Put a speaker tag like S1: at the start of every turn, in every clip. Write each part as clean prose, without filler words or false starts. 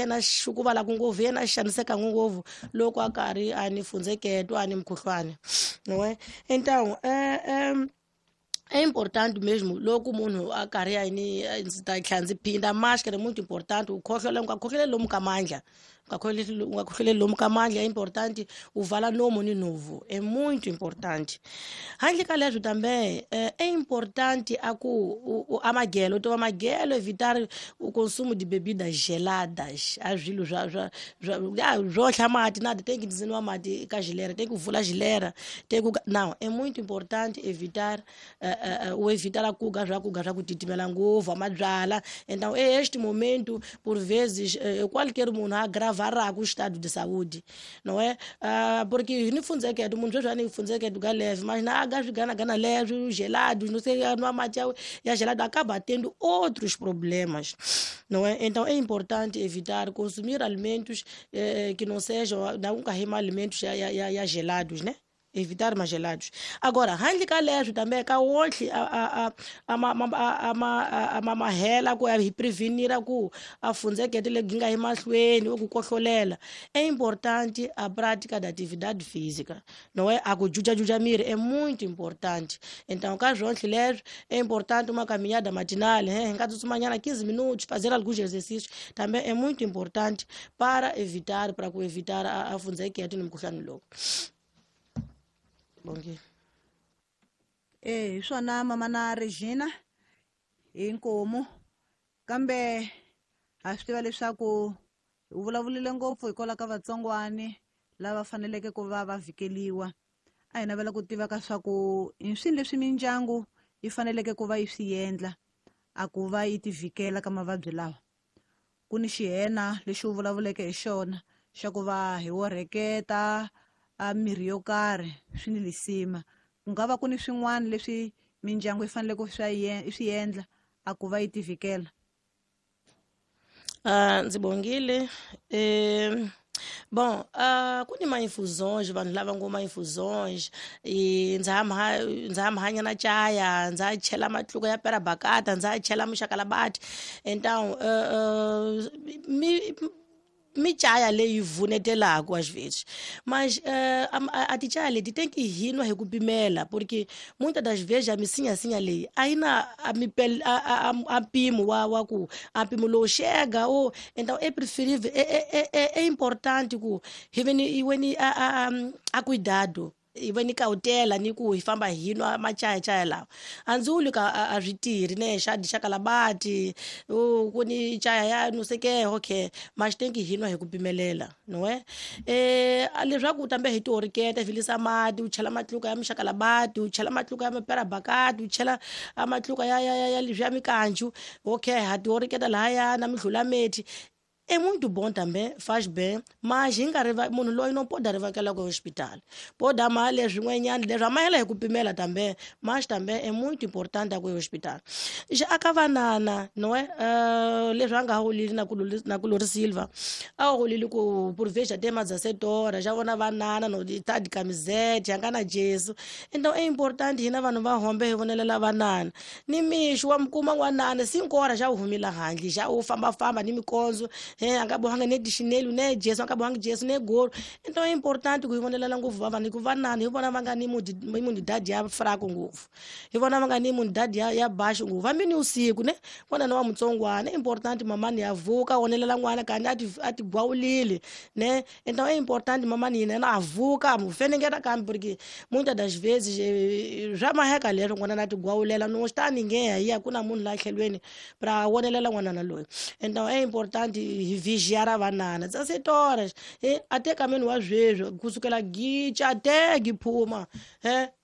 S1: Yena xukuvalaka ngopfu, yena xanisekaka ngopfu loko a karhi a ni fundzeketo a ni mukhuhlwani, não é? Então é importante mesmo loko munhu a karhi a ni, ndzi ta tlhela ndzi phinda, máscara é muito importante. U khohlola, u nga khohloleli lomu ka mandla, u nga khohloleli lomu ka mandla. É importante u vala nomu ni nhovu, é muito importante. Handle ka leswo também é importante a ku amagelo, u tiva magelo, evitar o consumo de bebidas geladas, a swilo swa swo hla mati na tem que nwa mati ka geleira, tem que vula geleira, tem que não. É muito importante evitar o evitar a kuga swa kuga swa ku titimela ngopfu, mabyala. Então é este momento, por vezes, qualquer munhu a agravará o estado de saúde, não é? Porque ni fundzeketo munhu sweswi a ni fundzeketo ka leve, mas na aga swiganagana leswi gelados, não sei, nwa mati ya gelado, acaba tendo outros problemas, não é? Então é importante evitar consumir alimentos que não sejam, não carregar alimentos ya gelados, né? Evitar mais gelados. Agora, handle ka leswo também ka wonhle a ma mahela ku hi prevenir ku a fundzekete lebyi nga emahlweni ku kohlolela, é importante a prática da atividade física, não é? A ku jujajuja miri é muito importante. Então ka swonhle leswo é importante uma caminhada matinal, hi nga tsutsumanyana 15 minutos, fazer alguns exercícios também é muito importante para evitar, para ku evitar a fundzekete ni mukhuhlwani lowu. Bongi.
S2: Hi swona, mama na Regina, inkomu. Kambe ha swi tiva leswaku u vulavurile ngopfu hikwalaho ka vatsongwani lava faneleke ku va va vhikeliwa. A hi navela ku tiva ka swa ku i swini leswi mindyangu yi faneleke ku va yi swi endla a ku va yi ti vhikela ka mavabyi lawa. Ku ni xihena lexi u vulavuleke hi xona xa ku va hi wo rheketa a mirhi yo karhi, swi ni lisima. Ku nga va ku ni swin'wana leswi mindyangu yi faneleke ku swi endla a ku va yi ti vhikela?
S1: Ndzi bongile. Bom, ku ni ma-infusões, vanhu lava ngo ma-infusões, ndza hanya na caya, ndza chela matluka ya perabakata, ndza chela muxakalabati. Então mi micaya leyi vunetelaka às vezes, mas a ticaya leti tem que hinwa hi ku pimela, porque muitas das vezes a misinyasinya leyi a yi na a mpimo wa ku a mpimo lowu xega o. Então é preferível, é importante ku hi ve ni hi ni a cuidado, hi va ni cautela ni ku hi famba hi nwa machayachaya lawa. A ndzi vuli ka a swi tirhi ne xa xakalabati ku ni chaya ya no sei que, okay, mas tem que hi nwa hi ku pimelela, não é? Leswaku tambe hi tioriketa, hi vilisa mati, u chela matluka ya muxakalabati, u chela matluka ya maperabakati, u chela matluka ya leswi ya mikanju, okay, ha tioriketa lahaya na mihlulamethi. É muito bom também, faz bem, mas hi nga munhu loyi no pode rivakela ku hospital, pode amar leswin'wanyana leswi amahela hi ku pimela também, mas também é muito importante ku hospital. Já aka vanana, não é? Leswi a nga holili na ku Lori Silva a holili ku por vezes até mais 17 horas já vona vanana no tá de camiseta, nga na Jesu. Então é importante hina vanhu va hombe hi vonelela vanana ni mixo wa mukuma n'wanana 5 horas já u humila handle, já u fambafamba ni mikondzo, a nga bohanga ne dichinelo ne Jesu, a nga bohanga Jesu ne golo. Então é importante ku hi vonelela ngopfu va vanhu, hikuva vanana hi vona va nga ni imunidade ya fraco ngopfu, hi vona va nga ni imunidade ya baixo ngopfu. Hambi ni usiku ne n'wana wa mutsongwana, é importante mamani ya vuka vonelela n'wana kandi a ti gwawulile ne. Então é importante mamani yena a vuka mu fenengeta kambe, porque muitas das vezes swa maheka leswo n'wana na ti gwawulela no swi ta ningeha hi ya ku na munhu laha tlhelweni pra vonelela n'wanana loyi. Então é importante hi vigiar a vanana 17 horas, até kameni wa sweswi kusukela gicha até giphuma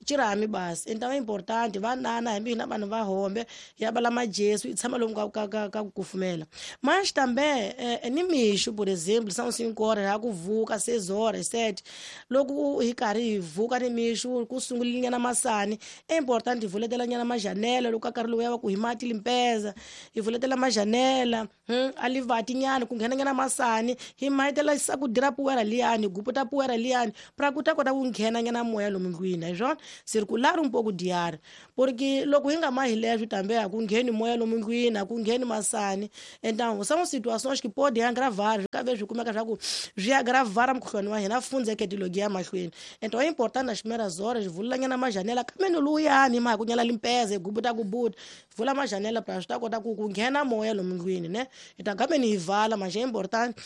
S1: chirami basi. Então é importante vanana hambi hina vanhu va hombe ya bala majesu hi tshama lomu ka ku kufumela. Mas também ni mixo, por exemplo, são 5 horas ya ku vuka, 6 horas, 7, loko hi karhi hi vuka ni mixo ku sungulile nyana masani, é importante hi vuletela nyana majanela loko ka nkarhi lowu ya va ku hi mati limpeza, hi vuletela majanela, a livati nyana liyani ku nghenanyana masani hi mahitela sakudira puwera liyani guputa puwera liyani pra ku ta kota ku nghenanyana moya lomu ndlwini hi swona circular um pouco de ar porque loko hi nga mahi leswo tambe a ku ngheni moya lomu ndlwini a ku ngheni masani. Então são situações que podem agravar ka ve swi kumeka swa ku swi agravara mukhuhlwani wa hina fundzeke tilogi ya mahlweni. Então é importante nas primeiras horas vulanyana majanela kamene luyani ma ku nyala limpeze gubuta gubuta vula majanela pra swi ta kota ku nghena moya lomu ndlwini ne ita kamene hi vala mas é importante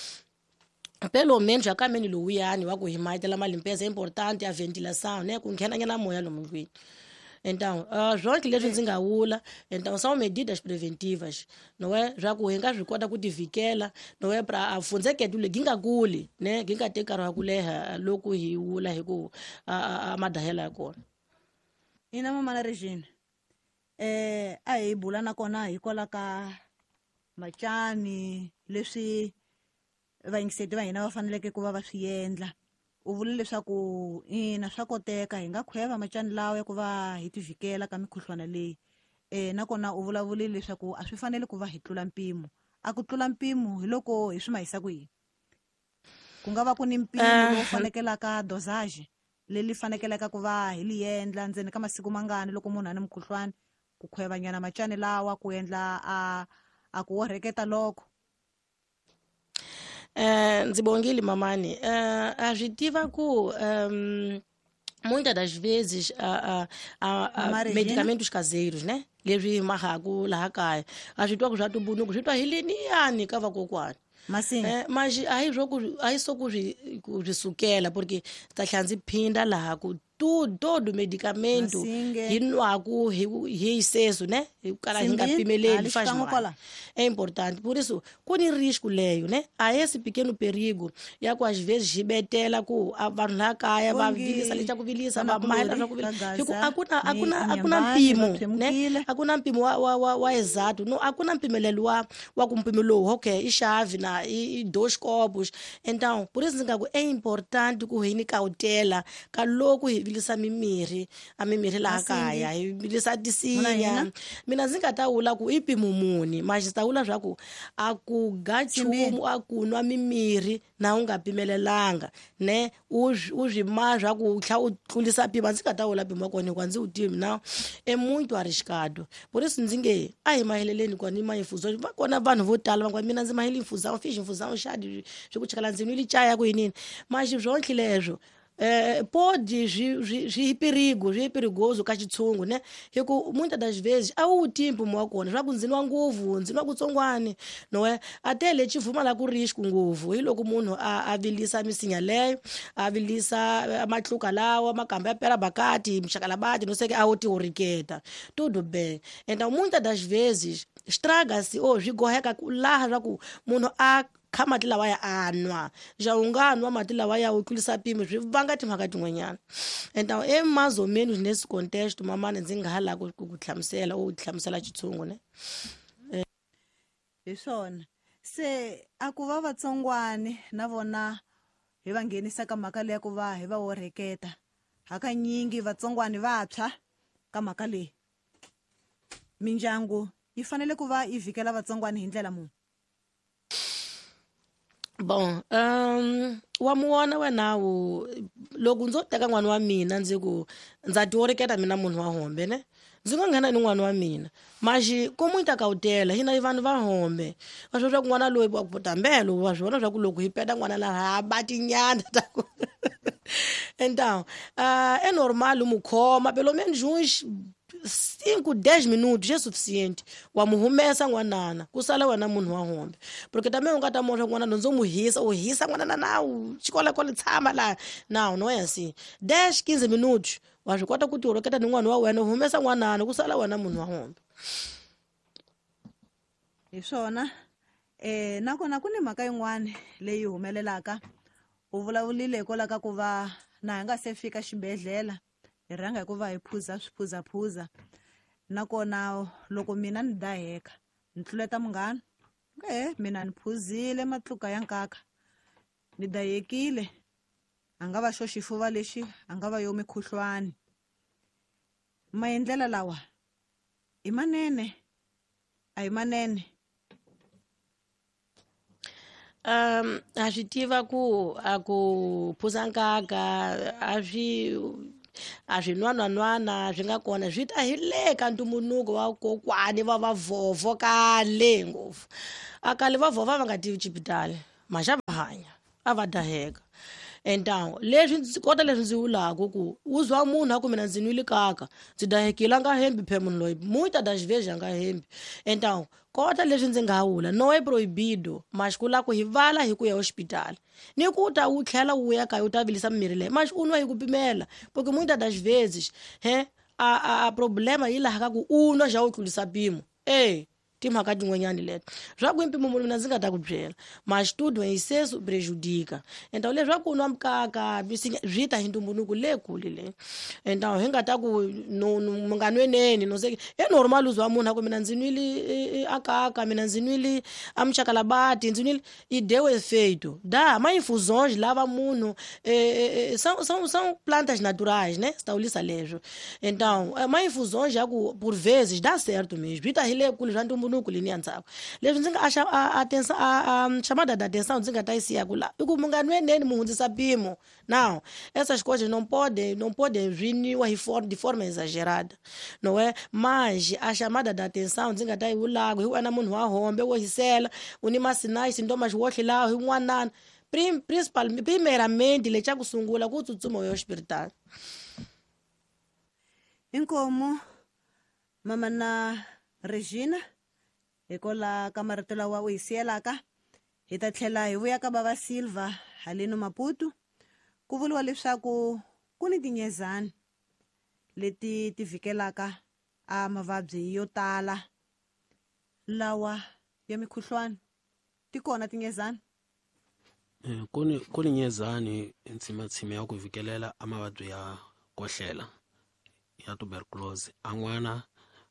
S1: pelo menos akamene lowuyani wa ku hi mahitela malimpeza é importante a ventilação né ku nghenanyana moya lomu ndlwini. Então swonke leswi ndzi nga vula, então são medidas preventivas não é swa ku hi nga swi kota ku tivikela não é pra a fundzeketo leyi nga kuli ne gi nga teki nkarhi wa ku leha loko hi vula hi ku a madahela ya kona.
S2: Ina mamana Regina, a hi bula nakona hikwalaho ka macani leswi vayingiseti va hina va faneleke ku va va swi endla. U vule leswaku ina swa koteka hi nga khweva macani lawa ya ku va hi tivhikela ka mikhuhlwana leyi. Nakona u vulavurile leswaku a swi fanele ku va hi tlula mpimo. A ku tlula mpimo hi loko hi swi mahisa ku yini? Ku nga va ku ni mpimo lowu fanekelaka dosage leri fanekelaka ku va hi li endla ndzeni ka masiku mangani loko munhu a ni mukhuhlwani ku khwevanyana macani lawa ku endla a ku orheketa loko.
S1: Ndzi bongile mamani. A swi tiva ku muitas das vezes medicamentos caseiros né leswi hi mahaku laha kaya a swi twa ku swa tumbuluko swi twa hi liniyani ka vakokwani. Mas a hi swo ku a hi swo ku swi sukela porque ta tlhela ndzi phinda laha ku todo medicamento hi nwaku hi seso né hi kala hi nga pimeleli faz mal. É importante por isso ku ni risco leyo né a esse pequeno perigo ya ku às vezes hi betela ku vanhu laha kaya va vilisa lexi ku vilisa va mahela swa ku vilisa hi ku a ku na mpimo né a ku na mpimo wa exato no a ku na mpimelelo wa ku mpimo lowu okay i xavi na i dois copos. Então por isso ndzi nga ku é importante ku hi ni cautela ka loko hi vilisa mimirhi a mimirhi laha kaya hi vilisa tisinya. Mina ndzi nga ta vula ku i mpimo muni mas ndzi ta vula swa ku a ku ga nchumu a ku nwa mimirhi na u nga pimelelanga ne u swi ma swa ku tlha u tlulisa mpimo. Ndzi nga ta vula mpimo wa kona hikuva ndzi wu tivi na e muito arriscado. Por isso ndzi nge a hi maheleleni kwa ni ma-infusão va kona vanhu vo tala va mina ndzi mahele infusão fiz infusão chá de swi ku chakala ndzi nwile chaya ku yinini mas swonke leswo pode swi perigo swi perigoso ka xitshungu né hi ku muitas das vezes a wu tivi mpimo wa kona swa ku ndzi nwa ngopfu ndzi nwa kutsongwani no é até lexi pfumala ku risco ngopfu hi loko munhu a vilisa misinya leyo a vilisa matluka lawa makamba ya pera bakati mxakalabati no sei que a wo tioriketa tudo bem. Então muitas das vezes estraga-se ou swi goheka ku laha swa ku munhu a kha mati lawa ya a nwa ja u nga nwa mati lawa ya u tlulisa mpimo swi vanga timhaka tin'wanyana. Então é mais ou menos nesse contexto mamani ndzi nga ha lava ku hlamusela u hlamusela xitshungu ne.
S2: Hi swona se a ku va vatsongwani na vona hi va nghenisa ka mhaka leyi ku va hi va orheketa hakanyingi vatsongwani vantshwa ka mhaka leyi mindyangu yi fanele ku va yi vhikela vatsongwani hi ndlela muni?
S1: Bon, wa muona wena wu loko ndzo teka n'wana wa mina ndzi ku ndza tioriketa mina munhu wa hombe ne ndzi nga nghena ni n'wana wa mina mas ko muita cautela hina i vanhu va hombe va swi swa ku n'wana loyi wa ku tambelo wa swi vona swa ku loko hi peta n'wana laha a ba tinyanda ta ku então é normal mu khoma pelo menos uns 5 10 minutos é suficiente wa mu humesa n'wanana ku sala wena munhu wa hombe porque também u nga ta moxa n'wana ndzo mu hisa u hisa n'wanana na u xikola tshama laha não não é assim 10 15 minutos wa swi kota ku tioroketa ni n'wana wa wena u humesa n'wanana ku sala wena munhu wa hombe.
S2: Hi swona nakona ku ni mhaka yin'wana leyi humelelaka u vulavurile hikwalaho ka ku va na hi nga se fika xibedhlele hi rhanga hi ku va hi phuza swiphuzaphuza nakona loko mina ni daheka ni tluleta munghana mina ni phuzile matluka ya nkaka ni dahekile a nga va xo xifuva lexi a nga va yo mikhuhlwani. Maendlela lawa i manene a hi manene?
S1: A swi tiva ku a ku phuza nkaka a swi nwananwana swi nga kona swi ta hi le ka ntumbuluko wa kokwani va vavhovho kale ngopfu. A kale vavhovho a va nga tivi xipitali maxa va hanya a va daheka. Então leswi kota leswi ndzi vulaka ku u zwa munhu a ku mina ndzi nwile kaka ndzi dahekile a nga hembi phe munhu loyi muita das vezes a nga hembi. Então kota leswi ndzi nga vula no é proibido mas ku la ku hi vala hi ku ya hospitali ni ku ta u tlhela u ya kaya u ta vilisa mimirhi leyi mas u nwa hi ku pimela porque muitas das vezes he a problema yi laha ka ku u nwa xa u tlulisa mpimo timhaka tin'wanyani leto swa ku mpimo mina ndzi nga ta ku byela mas tudo em excesso prejudica. Então leswaku nwa mukaka swi ta hi ntumbuluko le kule le. Então hi nga ta ku no nga nweneni no se é normal uzwa munhu a ku mina ndzi nwile akaka mina ndzi nwile a muchakalabati ndzi nwile e deu efeito dá ma infusões lava munhu são plantas naturais, né? Está leswo. Então ma infusões já ku por vezes dá certo mesmo swi ta hi le kule swa ntumbuluko leni ya ndzhaku. Leswi ndzi nga a chamada da atenção ndzi nga ta yi siya ku la i ku mu nga nweneni mu hundzisa mpimo. Não, essas coisas não podem vir de forma exagerada, não é? Mas a chamada da atenção ndzi nga ta yi vulaku hi wena munhu wa hombe wo hisela u ni masinais sintomas wo tlhela hi n'wanana principal primeiramente lexa ku sungula ku tsutsuma u ya hospitali.
S2: Inkomu mama na Regina hikola ka marito lawa u hi siyelaka hi ta tlhela hi vuya ka bava Silva haleno Maputo. Ku vuriwa leswaku ku ni tinyezani leti ti vhikelaka a mavabyi yo tala lawa ya mikhuhlwani. Ti kona tinyezani?
S3: Ku ni nyezani ntsimatsima ya ku vhikelela a mavabyi ya kohlela ya tuberculosis. A n'wana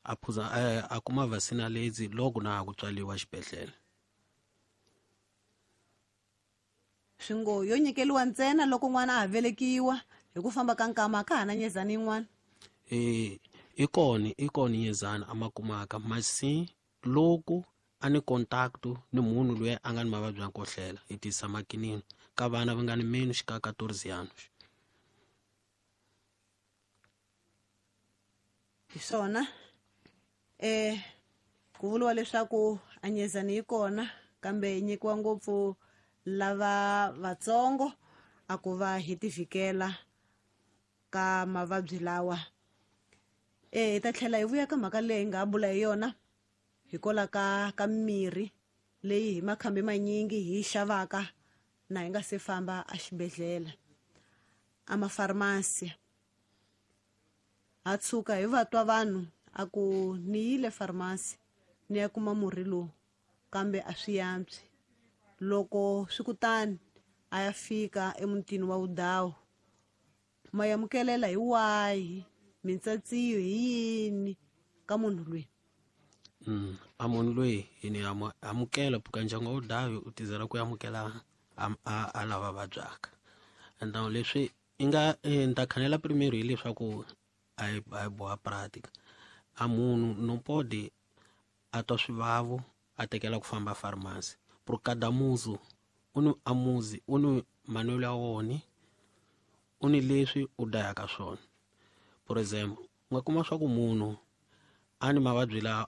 S3: a phuza a kuma vaccine lezi loko na ku tswaliwa xibedhlele.
S2: Swi ngo yo nyikeliwa ntsena loko n'wana a ha velekiwa hi ku famba ka nkama ka ha na nyezani yin'wana.
S3: I kona nyezani a ma kumaka masi loko a ni contact ni munhu loyi a nga ni mavabyi ya kohlela hi tisa makinini ka vana va nga ni menos ka 14 anos.
S2: Hi swona ku vuriwa leswaku a nyezani yi kona kambe yi nyikiwa ngopfu lava vatsongo a ku va hi tivhikela ka mavabyi lawa. Hi ta tlhela hi vuya ka mhaka leyi hi nga bula hi yona hikola ka mirhi leyi hi makhambi manyingi hi xavaka na hi nga se famba exibedhlele a mafarmasi. Ha tshuka hi va twa vanhu a ku ni yile farmasi ni ya kuma murhi lowu kambe a swi yantswi. Loko swi kutani a ya fika emutini wa Vudawu ma amukelela hi wahi mintsatsiyo hi yini ka munhu loyi?
S3: A munhu loyi hi ni amukela puka ndyangu wa Vudawu u tizela ku amukela a lava vabyaka. Então leswi i nga ni ta khanela primeiro hileswaku a hi boha prática. A munhu no pode a twa swivavo a tekela ku famba farmasi. Por cada muzi u ni a muzi u ni manwelo ya wona u ni leswi u dayaka swona. Por exemplo u nga kuma swa ku munhu a ni mavabyi lawa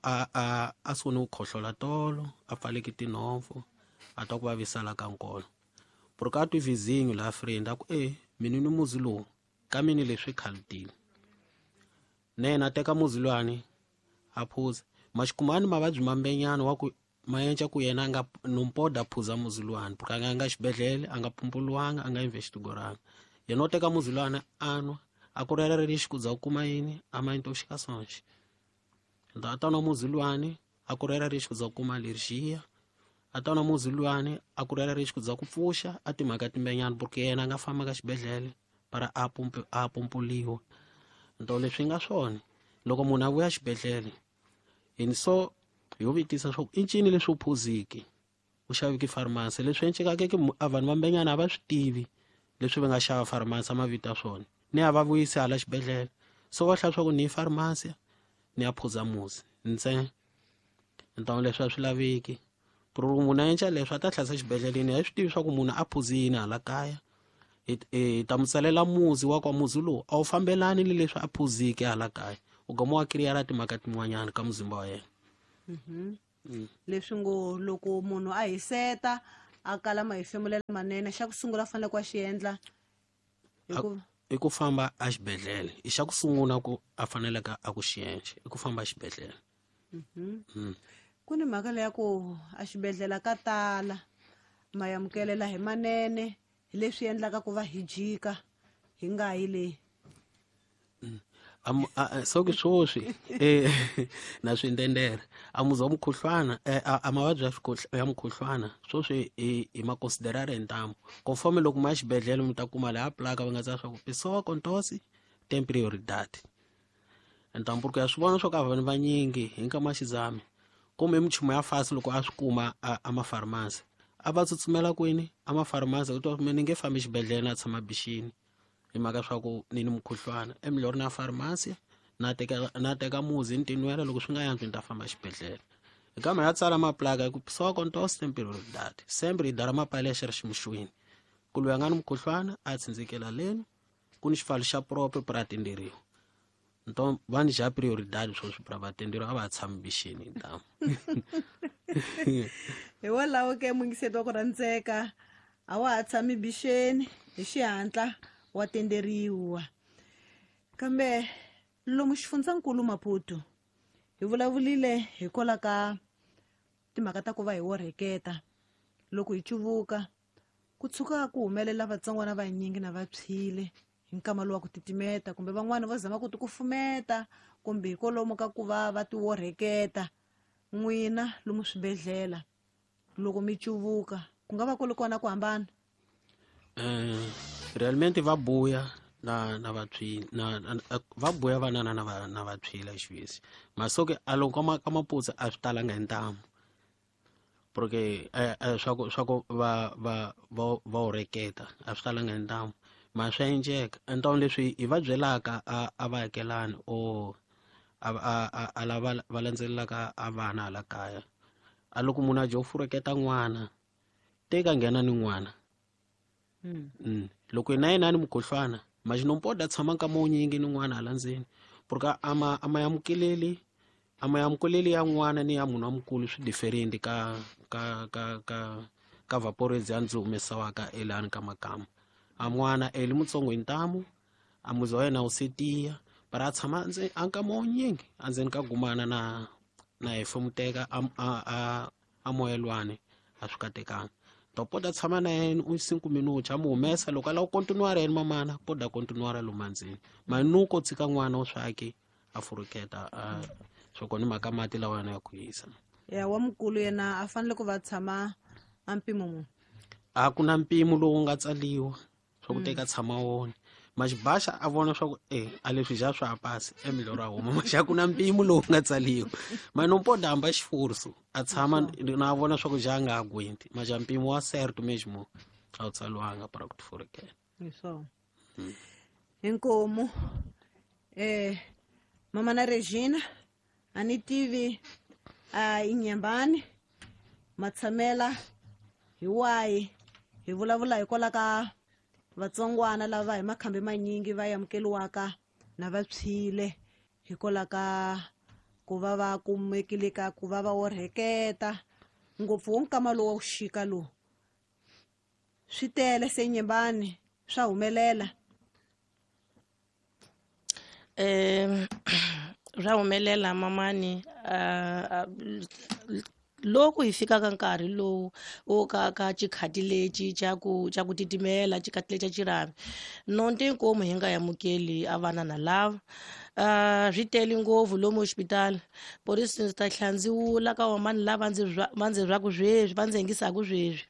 S3: a sungule ku khohlola tolo a pfaleki tinhompfu a twa ku vavisala ka nkolo. Por ka twi vizinho la friend a ku mina ni muzi lowu ka mini leswi khalutile. Nena a teka muzi lwani a phuza maxikumani mavabyi mambenyana wa ku mayenca ku yena nga nompoda phuza muzi lwani porque a nga xibedhlele a nga pumpuliwanga a nga investigoranga. Yena u teka muzi lwani a nwa a ku rera lexi ku za ku kuma yini a ma intoxicações. Então a ta nwa muzi lwani a ku rera lexi ku za ku kuma alergia. A ta nwa muzi lwani a ku rera lexi ku za ku pfuxa a timhaka timbenyana porque yena a nga famba ka xibedhlele para a pumpuliwa. Então leswi nga swona loko munhu a vuya xibedhlele hi so hi vutisa swa ku i ncini leswi u phuziki u xaviki farmasi leswi encekaka ke a vanhu vambenyana a va swi tivi leswi va nga xava farmasi a mavito ya swona ni a va vuyisi hala xibedhlele so va hlaya swa ku ni farmasi ni ya phuza muzi ntsena. Então leswi a swi laveki Ku ri munhu a endla leswi a ta hlayisa xibedhleleni, a swi tivi swa ku munhu a phuzi yini hala kaya. Hi ta mu tsalela muzi wa kwa muzi lowu a wu fambelani ni leswi a phuzike hala kaya. U gama wa kiriyara timhaka tin'wanyana ka muzimba wa yena.
S2: Leswi ngo loko munhu a hiseta a kala mahefemulelo manene, xa ku sungula a fanele ku a xi endla
S3: i ku famba a xibedhlele. I xa ku sungula ku a faneleke a ku xi endla i ku famba a xibedhlele.
S2: Ku ni mhaka leya ku a xibedhlele ka tala mayamukelela hi manene, hi leswi endlaka ku va hi jika hi nga yi le.
S3: So ke swoswi, na swindendere. A muzi wa mukhuhlwana, a mavabyi ya mukhuhlwana swoswi hi ma considerare hi ntamu. Conforme loko ma ya xibedhlele mi ta kuma laha plaka va nga tsala swa ku pessoa com tosse tem prioridade. Ntamu ku ya swi vona swa ku a vanhu vanyingi hi nkama xizami kumbe michumu ya fasi loko a swi kuma a ma-pharmacy a va tsutsumela kwini a ma-pharmacy, u twa mina ni nge fambi xibedhlele na tshama bixini hi mhaka swa ku ni ni mukhuhlwana. Emilorhi na pharmacy na teka muzi ni tinwela, loko swi nga yantswi ni ta famba xibedhlele. Hi kama ya tsala maplaka hi ku pessoa com tosse tem prioridade, sempre hi dara mapale ya xi ri ximuxweni ku loyi a nga ni mukhuhlwana a tsindzikela leni ku ni xipfalo xa propre pra tenderiwa. Então va ni xa prioridade sweswi pra va tenderiwa, a va tshami bixini ntamu.
S2: Hi walawo ke mungiseti wa ku rhandzeka, a wa ha tshami bixeni hi xihatla wa tenderiwa. Kambe lomu xifundzankulu Maputo hi vulavulile hikwalaho ka timhaka ta ku va hi worheketa loko hi cuvuka ku tshuka ku humelela vatsongwana vanyingi na va tshwile hi nkama lowu wa ku titimeta, kumbe van'wani va zama ku tikufumeta kumbe hikwalomu ka ku va va ti worheketa. N'wina lomu swibedhlele loko mi cuvuka ku nga va ku ri kona ku hambana?
S3: Realmente va buya na va tshwile, na, na, na, va buya vanana na va, na va tshwile xivisi. Masoke a loko ka maputsa a swi talanga hi ntamu. Porque swa ku va, va, va, va oreketa a swi talanga hi ntamu. Ma swa endleka. Ntamu leswi hi va byelaka a va akelani o a lava va landzelelaka a vana hala kaya. A loko munhu a dya u fureketa n'wana, teka nghena ni n'wana. Loko yena yena ni mukhuhlwana, mas não pode tshama nkama wo nyingi ni n'wana hala ndzeni. Porque a ma amukeleli, a ma amukeleli ya n'wana ni ya munhu wa mukulu swi different ka vaporezi ya ndzi humesiwaka elani ka makama. A n'wana eli mutsongo hi ntamu, a muzi wa yena wu se tiya, para a tshama a nkama wo nyingi endzeni ka gumana na hefemuteka a moyelwani a swi katekanga. To poda tshama na yena u 5 minutos a mu humesa loko a lava ku continuar yena mamana poda continuar lomu ndzeni. Manuko tshika n'wana wa swaki a furuketa a swo kona mhaka mati lawa yana ya ku hisa.
S2: Ya wa mukulu yena a fanele ku va tshama a mpimo muni?
S3: A ku na mpimo lowu nga tsaliwa swa ku teka tshama wona. Maxibaxa a vona swa ku, a leswi ja swa pasi, emilorho a huma. Maxa ku na mpimo lowu nga tsaliwa. Mano poda hamba xifurso, a tshama na vona swa ku ja nga aguenti. Maxa mpimo wa certo mesmo a wu tsaliwanga para ku tifurekela.
S2: Hi swona. Inkomu. Mama na Regina, a ni tivi, a inyembani, matshamela hi wahi, hi vulavula hikwalaho ka vatsongwana lava hi makhambi manyingi va amukeriwaka na va tshwile hikwalaho ka ku va va kumekile ka ku va va orheketa ngopfu wo nkama lowu wa ku xika lowu. Swi tele se nyembani swa humelela.
S1: Swa humelela mamani, loko hi fika ka nkarhi lowu wo ka xikhati lexi xa ku titimela, xikhati lexi xa xirhami, nonti inkomu hi nga amukeli a vana na lava. Swi tele ngopfu lomu hospitali. Por isso ndzi ta tlhela ndzi vula ka vamani lava va ndzi rhwaku sweswi, va ndzi yingisaka sweswi.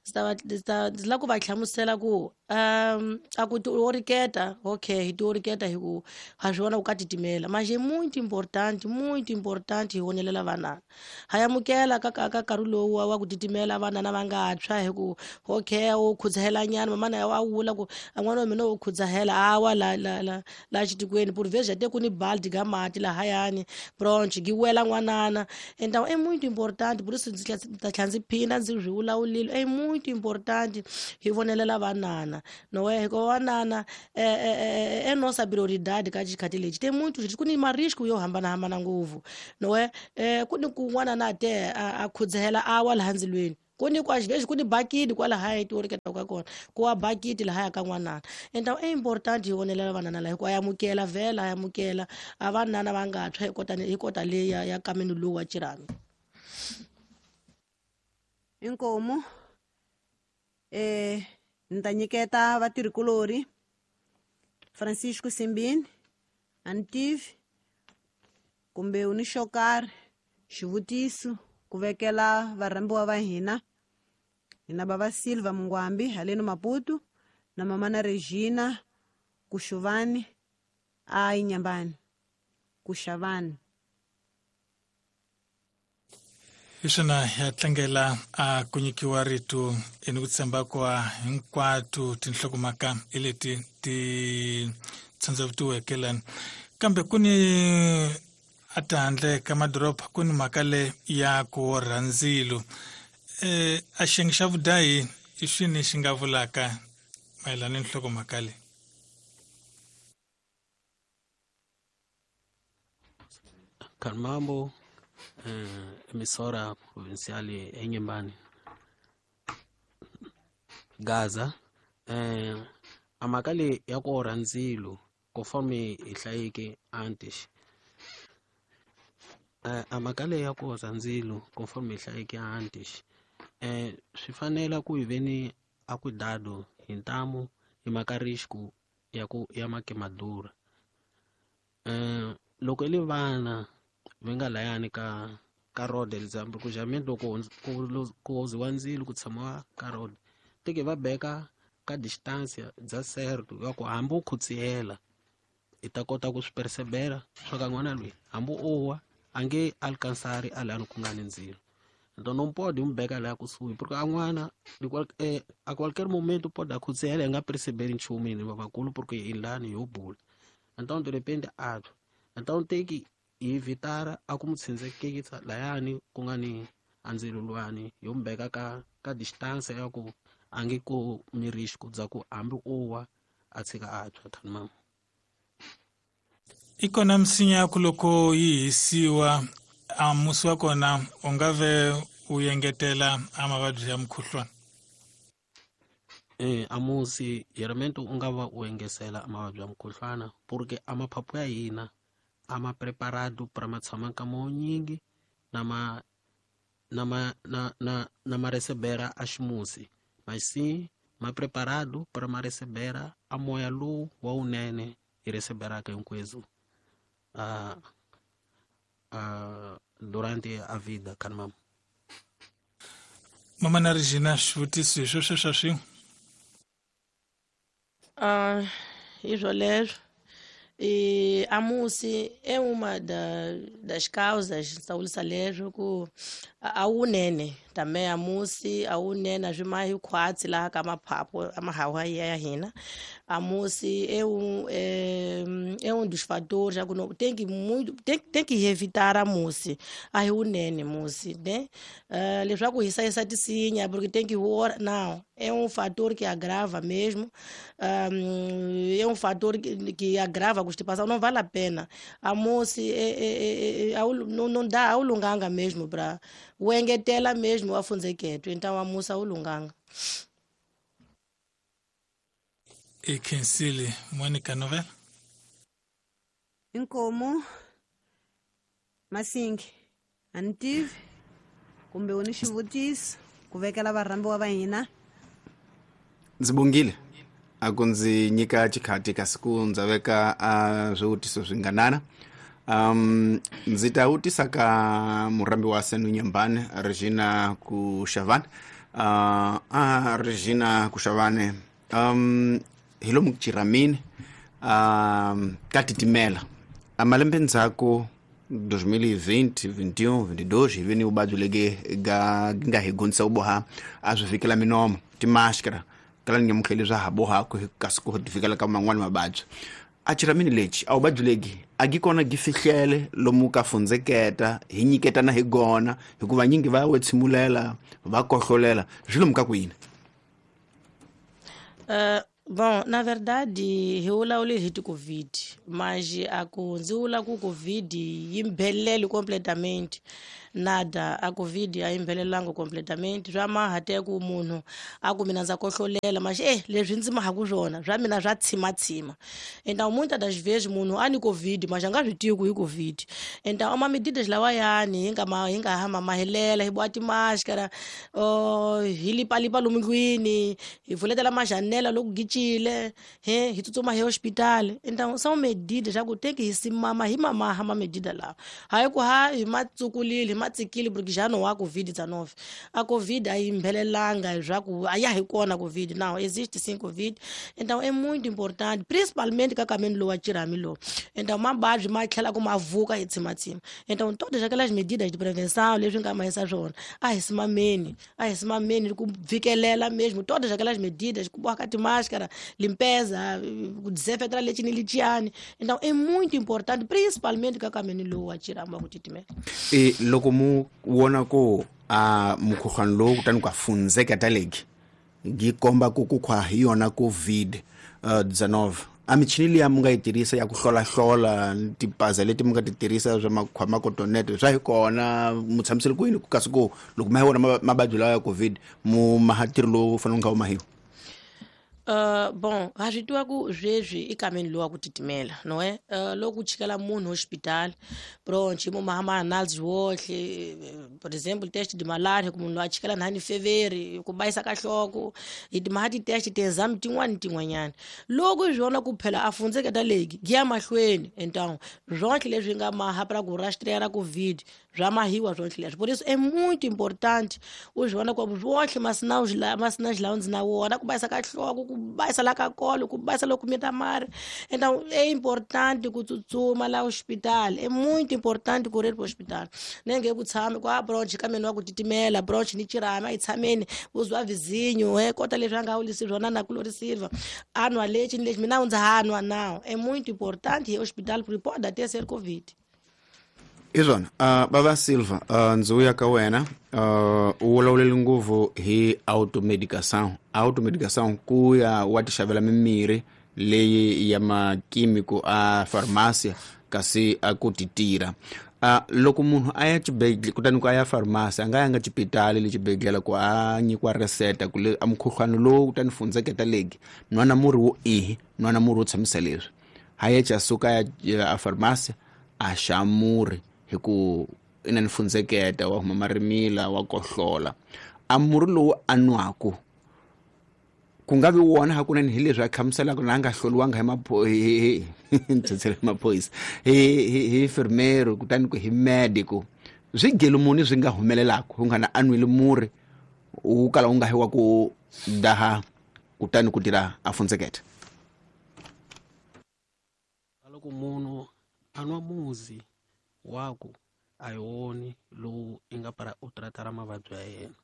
S1: Ndzi ta va, ndzi ta, ndzi lava ku va hlamusela ku, a ku ti oriketa, okay, hi ti oriketa hi ku ha swi vona ku ka titimela. Mas é muito importante, muito importante hi vonelela vana. Ha amukela ka nkarhi lowu wa ku titimela vana va nga tshwa hi ku, okay, u khudzahela nyana, mamana ya wa vula ku, a n'wana wa mina u khudzahela, a wa la, la, la, la xitikweni, por vezes te ku ni baldi ga mati lahayani bronch gi wela n'wanana. Então é muito importante, por isso ndzi ta tlhela ndzi phinda ndzi swi vulavulile, é muito importante hi vonelela vanana não é, hikuva vanana é nossa prioridade ka xikhathi lexi. Tem muito ku ni marisco yo hambanahambana ngopfu não é, ku ni kun'wana na te a khudzahela a wa laha ndzilweni, ku ni kwa xivexi ku ni bakiti kwalahaya ti ka kona ku wa bakiti lahaya ka n'wanana. Então é importante hi vonelela vanana laha hikuva a amukela vhela a amukela a vanana va nga tshwa hi kota leyi ya kameni lowu wa Chirami.
S2: Inkomu ni ta nyiketa vatirhikulori Francisco Simbini Antivi kumbe u ni xo karhi xivutiso ku vekela varhambiwa va hina, hina bava Silva Mungwambi haleno Maputo na mamana Regina Kuxuvani a Inyambani Kuxavani.
S4: Hi swona ya tlangela a ku nyikiwa rito eni ku tshemba kwa hinkwato tinhlokomhaka hi leti ti tshandzavutiweke lani, kambe ku ni a tihandle ka madoroba ku ni mhaka le ya ku orha ndzilo. A xiyenge xa vudahi i swini xi nga vulaka mayelana ni nhlokomhaka leyi?
S3: Kalmambo, emissora provincial eNyembani Gaza, a mhaka leyi ya ku orha ndzilo conforme hi hlayeke antes, a mhaka leyi ya ku orha ndzilo conforme hi hlayeke antes, swi fanela ku hi veni a cuidado hi ntamu hi mhaka risco ya ku ya makemadura. Loko i le vana va nga layani ka road example ku jameni loko ku oziwa ndzilo ku tshamiwa ka road teke va beka ka distance bya certo ya ku hambi u khutsiyela i ta kota ku swi percebela swa ka n'wana loyi hambi o wa a nge alcansari a lani ku nga ni ndzilo. Então não pode um beka lá kusuhi porque a n'wana a qualquer momento pode akhutsiyela hi nga percebeli nchumu hina vakulu porque hi lani yo bula. Então de repente a twa. Então tem que evitar a ku mu tshindzekisa layani ku nga ni a ndzilo luwani yo mu beka ka distance ya ku a nge ku mi risco bya ku hambi o wa a tshika a tshwa thani mama.
S4: I kona misinya ya ku loko yi hisiwa a musi wa kona u nga ve u engetela a mavabyi ya mukhuhlwana?
S3: A musi geralmente u nga va u engesela mavabyi ya mukhuhlwana porque a maphaphu ya hina a ma preparado para ma tshama nkama wo nyingi na ma na ma na na na ma recebera a ximusi, mas sim ma preparado para ma recebera a moya lowu wa wunene hi receberaka hinkwezu durante a vida kan mama.
S4: Mama na Regina, xivutiso hi sweswo swa swin'we?
S1: Hi swoleswo. A musi é uma das causas sawulisa leswo ku a wunene também a musi a wunene a swi ma hi khwatsi laha ka maphaphu a mahawa ya hina. A musi é um dos fatores já que não tem que muito tem que evitar a musi a hi wunene musi né, leswaku hi hlayisa tisinya porque tem que não é um fator que agrava mesmo, é um fator que agrava a constipação, não vale a pena. A moça não dá ao lunganga mesmo para o engetela mesmo a funzeketo, então a moça ao lunganga.
S4: E Kensile Mônica Novela?
S2: Inkomo Masingi antivi kumbe u ni xivutiso ku vekela varhambiwa va hina?
S5: Ndzi bongile a ku ndzi nyika xikhati kasi ku ndza veka a swivutiso swinganana. Ndzi ta vutisa ka murhambi wa Senu Nyambani Regina Kuxavani. A Regina Kuxavani, hi lomu Chiramini ka titimela a malembe ndzhaku 2020 21 22 hi ve ni vuvabyi lege ga nga hi gonisa ku boha a swi fikela minomo timaskara kala ni nyamutlheli swa ha bohaku kasi ku ti fikela ka man'wani mavabyi. A chiramini lexi a vuvabyi legi a gi kona gi fihlele lomu ka fundzeketa hi nyiketana hi gona hikuva nyingi va wetshimulela va kohlolela swi lomu ka kwini.
S1: Bom, na verdade, hi vulavule hi ti-COVID, mas a ku ndzi vula ku COVID yi mbhelele completamente. Nada, a COVID a yi mbhelelanga completamente. Swa maha te ku munhu a ku mina ndza kohlolela, mas leswi ndzi mahaku swona swa mina swa tshimatsima. Então muitas das vezes munhu a ni COVID, mas a nga swi tivi ku i COVID. Então ama medidas lawayani hi nga ma hi nga hamba mahelela, hi boha timáscara, hi lipalipa lomu ndlwini, hi pfuletela majanela loko gicile, hi tsutsuma hi hospital. Então são medidas xa ku teki hi simama hi mamaha ma medida lawa. Hayi ku ha hi ma tsukulile, hi ma tsikile porque já não há COVID-19. A COVID a yi mbhelelanga swa ku a ya hi kona COVID. Não, existe sim COVID. Então é muito importante, principalmente ka kameni lowu wa chirhami lowu. Então mavabyi ma tlhela ku ma vuka hi tshimatsima. Então todas aquelas medidas de prevenção leswi nga mahisa swona, a hi simameni ku vikelela mesmo todas aquelas medidas, ku boha ka timáscara, limpeza, ku desinfetar lexi ni lexiyani. Então é muito importante, principalmente ka kameni lowu wa chirhami wa ku titimela.
S5: Loko mu vona ku a mukhuhlwani lowu kutani ku a fundzeketa legi gi komba ku ku khwa hi yona COVID-19, a michini liya mu nga yi tirhisa ya ku hlolahlola tipaza leti mu nga ti tirhisa swa makhwamakotonete swa hi kona mu tshamisele kwini ku kasi ku loko ma hi vona mavabyi lawa ya COVID mu maha ntirho lowu fanele wu nga wu mahiwa?
S1: Bom, ha swi tiva ku sweswi i kameni lowu wa ku titimela, no é? Loko ku chikela munhu hospital, pronto, hi mu maha ma-analysis wohle, por exemplo, test de malaria, ku munhu loyi a chikela nhani feveri, ku bayisa ka nhloko, hi ti maha ti-test ti-exam tin'wani tin'wanyana. Loko hi swona ku phela a fundzeketa legi, gi ya mahlweni. Então, swonhle leswi nga maha pra ku rastrear COVID, swa mahiwa swonhle leswi. Por isso é muito importante u swi vona ku swohle masinawu lawa ndzi na wona, ku bayisa ka nhloko, ku bayisa la ka kolo, ku bayisa loko mita mari. Então é importante ku tsutsuma la hospital, é muito importante correr pro hospital. Nenge ku tshame ku a bronch ka mina wa ku titimela, bronch ni chirhami a yi tshameni, u zwa vizinho, kota leswi a nga wulisi swona na ku Silva. A nwa lexi ni lexi mina ndza ha nwa now. É muito importante ir ao hospital porque pode até ser COVID.
S5: I swona. Baba Silva, ndzi vuya ka wena, u vulavulele ngopfu hi automedication. Automedication ku ya wa ti xavela mimirhi leyi ya makimiko a pharmacy kasi a ku ti tirha. Loko munhu a ya xibedhlele kutani ku a ya pharmacy, a nga yanga xipitali le xibedhlele ku a nyikiwa reseta ku le a mukhuhlwani lowu kutani fundzeketa legi nwana murhi wo ihi, nwana murhi wo tshamisa leswi. Ha ye xa suka ya a pharmacy a xa murhi hi ku i na ni fundzeketa wa huma marimila wa kohlola. A murhi lowu a nwaku ku nga vi wona hakunene hi leswi a hlamuselaka na a nga hloliwanga hi maphorisa hi enfermero kutani ku hi medico, swi gelo muni swi nga humelelaka ku nga na a nwile murhi wu kala wu nga hi wa ku daha kutani ku tirha a fundzeketa?
S3: Loko munhu a nwa muzi waku a hi woni lowu i nga para u tratara mavabyi ya yena.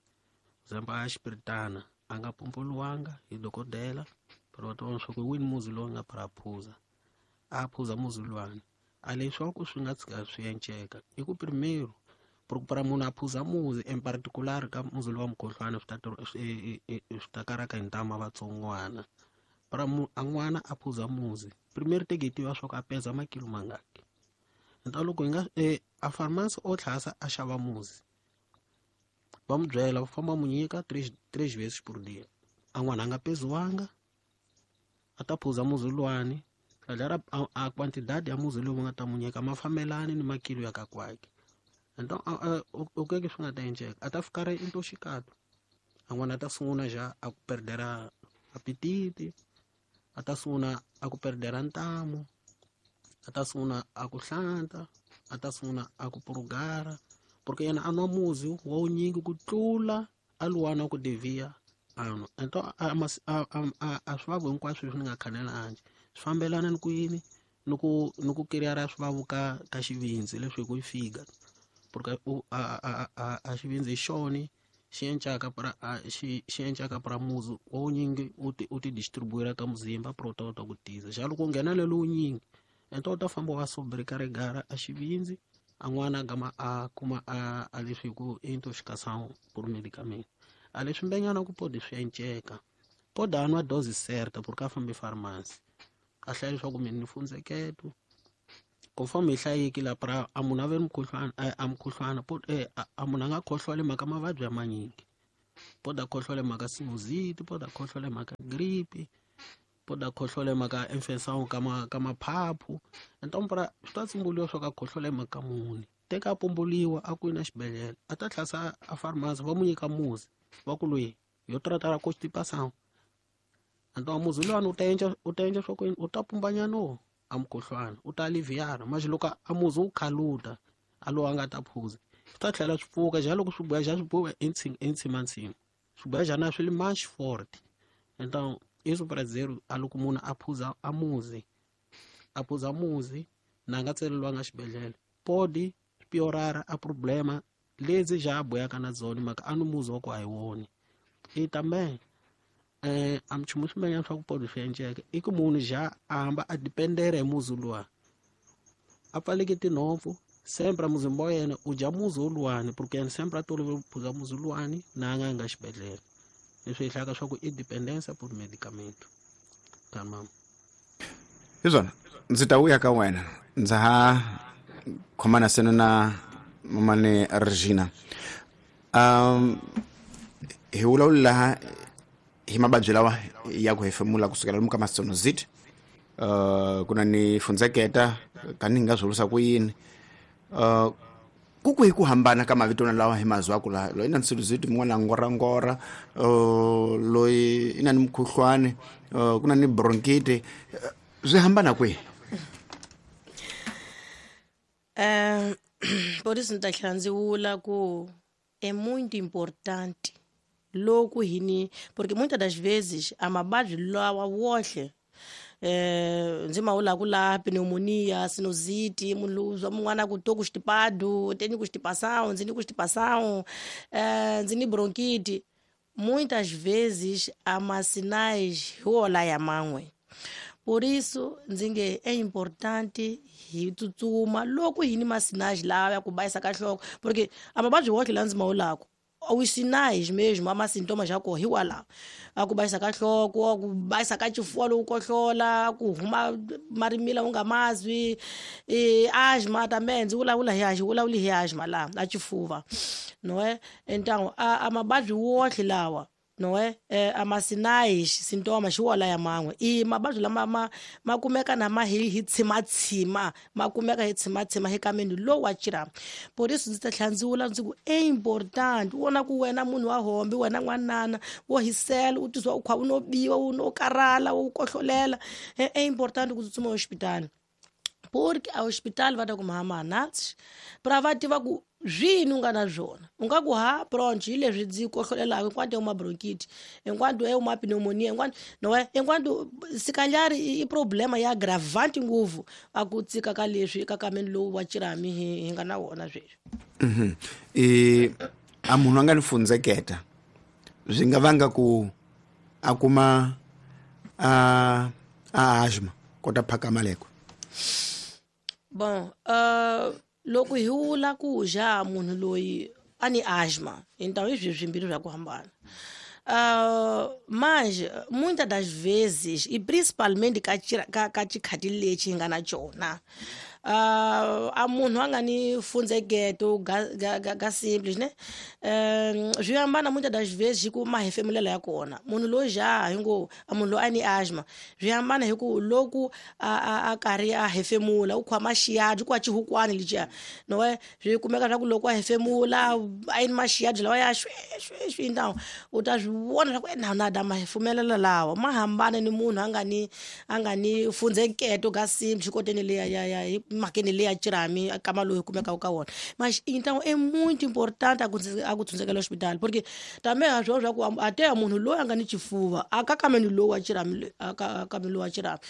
S3: Zamba a xipiritana a nga pompoliwanga hi dokodela, pero va tiva swa ku hi wini muzi lowu nga para phuza, a phuza muzi luwani. A leswaku swi nga tshika swi enceka i ku primeiro para munhu a phuza muzi in particular ka muzi lowa mukhuhlwani swi ta karaka hi ntama vatsongwana. Para a n'wana a phuza muzi primeiro teke hi tiva swa ku a peza makilo mangaki. Então loko hi nga a pharmacy o tlhasa a xava muzi va mu byela va famba mu nyika 3 vezes por dia. A n'wana a nga peziwanga a ta phuza muzi luwani tlhela a quantidade ya muzi lowu va nga ta mu nyika ma fambelani ni makilo ya ka kwake. Então o que que swi nga ta endleka a ta fika ra intoxicado, a n'wana a ta sungula já a ku perdera apetite, a ta sungula a ku perdera ntamu, a ta sungula a ku hlanta, a ta sungula a ku purugara, porque yena a nwa muzi wa wunyingi ku tlula a luwana ku devia a nwa. Então a swivavu hinkwaswo leswi ni nga khanela handle swi fambelana ni ku yini ni ku kiriyara swivavu ka xivindzi leswi hi ku yi fika, porque a xivindzi hi xona Xi encaka pra xi encaka pra muzi wo nyingi u ti distribuira ka muzimba pra u ta kota ku tiza. Xa loko u nghenelela wunyingi enta u ta famba wa sobrecarregar a xivindzi a n'wana gama a kuma a leswi hi ku intoxicação por medicamento. A leswi mbenyana ku pode swi enceka. Pode a nwa dose certa porque a fambi farmasi. A hlaya leswaku mina ni fundzeketo. Conforme hi hlayeki la pra a munhu a ve ni mukhuhlwana a mukhuhlwana a munhu a nga khohlwali mhaka mavabyi ya manyingi. Pode a khohlwale mhaka sinusite, pode a khohlwale mhaka gripe, pode a khohlwale mhaka infection ka maphaphu. Então pra swi ta tshunguriwa swa ka khohlwale mhaka muni. Teka a pumbuliwa a ku na xibedhlele a ta tlhasa a pharmacy va mu nyika muzi va ku loyi yo tratar constipação. Então muzi luwani u ta endla swa ku u ta pumbanyana a mukhuhlwana u ta aliviara mas loko a muzi wu khaluta a lowu a nga ta phuza swi ta tlhela swi pfuka ja loko swi boya ja swi boya entshimantshimu swi boya ja na swi li mais forte. Então isso para dizer a loko munhu a phuza a muzi a phuza muzi na nga tseleliwanga xibedhlele pode piorar a problema lezi ja boyaka na dzona mhaka a ni muzi wa ku a hi woni. E também a minchumu swin'wanyana swa ku pode swi enceka i ku munhu ja a hamba a dependera hi muzi luwa a pfaleke tinhompfu sempre muzimba wa yena u dya muzi woluwani porque yena sempre a tolovele ku phuza muzi luwani na a nga nga xibedhlele. Leswi hi hlayaka swa ku i dependência por medicamento. Tamam.
S5: Hi swona ndzi ta vuya ka wena ndza ha khomana seno na mamane Regina. Hi vulavula laha hi mavabyi lawa ya ku hefemula kusukela lomu ka masonozit ku na ni fundzeketa kani hi nga swi vurisa ku yini ku kwihi ku hambana ka mavito lawa hi mazwaku laha loyi na sinusite mun'wana ngorangora loyi i na ni mukhuhlwani ku na ni bronchite swi hambana kwihi?
S1: Por isso ni ta tlhela ndzi vula ku é muito importante loko hi ni porque muitas das vezes a mavabyi lawa wohle ndzi ma vulaku la pneumonia, sinusite, munhu zwa mun'wana ku to constipado, tenho constipação, ndzi ni constipação, ndzi ni bronquite. Muitas vezes a masinais hi wola ya man'we. Por isso ndzi nge é importante hi tsutsuma loko hi ni masinais lawa ya ku bayisa ka nhloko porque a mavabyi wohle la ndzi ma vulaku os sinais mesmo, ama sintomas ya koho hikwalaho a ku bayisa ka nhloko, a ku bayisa ka xifuva loko kohlola, ku huma marimila u nga mazwi, asthma também ndzi vulavula hi hi vulavuli hi asthma laha a xifuva não é? Então a mavabyi wohle lawa não é? A masinais sintomas hi wona ya man'we i mavabyi lama ma kumeka na ma hi tshimatshima ma kumeka hi tshimatshima hi kameni lowu wa xirhami. Por isso ndzi ta tlhela ndzi vula ndzi ku é important u vona ku wena munhu wa hombe wena n'wanana wo hisela u tizwa u kha u no biwa u no karhala u kohlolela é important ku tsutsuma hospitali porque a hospital va ta ku mhama nuts pra va tiva ku swini u nga na swona u nga ku ha bronch hi leswi ndzi kohlolelaka hinkwato uma bronchite hinkwato e uma pneumonia hinkwato no hinkwato sikalhari i problema ya agravante ngopfu a ku tsika ka leswi ka kameni lowu wa xirhami hi nga na wona sweswi.
S5: A munhu a nga ni fundzeketa swi nga vanga ku a kuma a asthma kota phaka maleko.
S1: Bon, loko hi vula ku ja munhu loyi a ni asthma então i swilo swimbirhi swa ku hambana. Mas muitas das vezes e principalmente ka ka xikhati lexi hi nga na xona a munhu a nga ni fundzeketo ga simples ne swi hambana muitas das vezes hi ku mahefemulelo ya kona munhu loyi ja hi ngo a munhu loyi a ni asthma swi hambana hi ku loko a karhi a hefemula u khoma xiyadi ku a xihukwani lexiya no swi kumeka swa ku loko a hefemula a yini maxiyadi lawa ya xwi xwi xwi então u ta swi vona swa ku na da mahefemulela lawa ma hambana ni munhu a nga ni fundzeketo ga simples xikoteni leya ya hi mhakeni leya xirhami kama lowu hi kumekaka ka wona. Mas então é muito importante a ku tshundzekela hospital porque também a swo swa ku a te munhu loyi a nga ni xifuva a ka kameni lowu wa xirhami a ka kameni lowu wa xirhami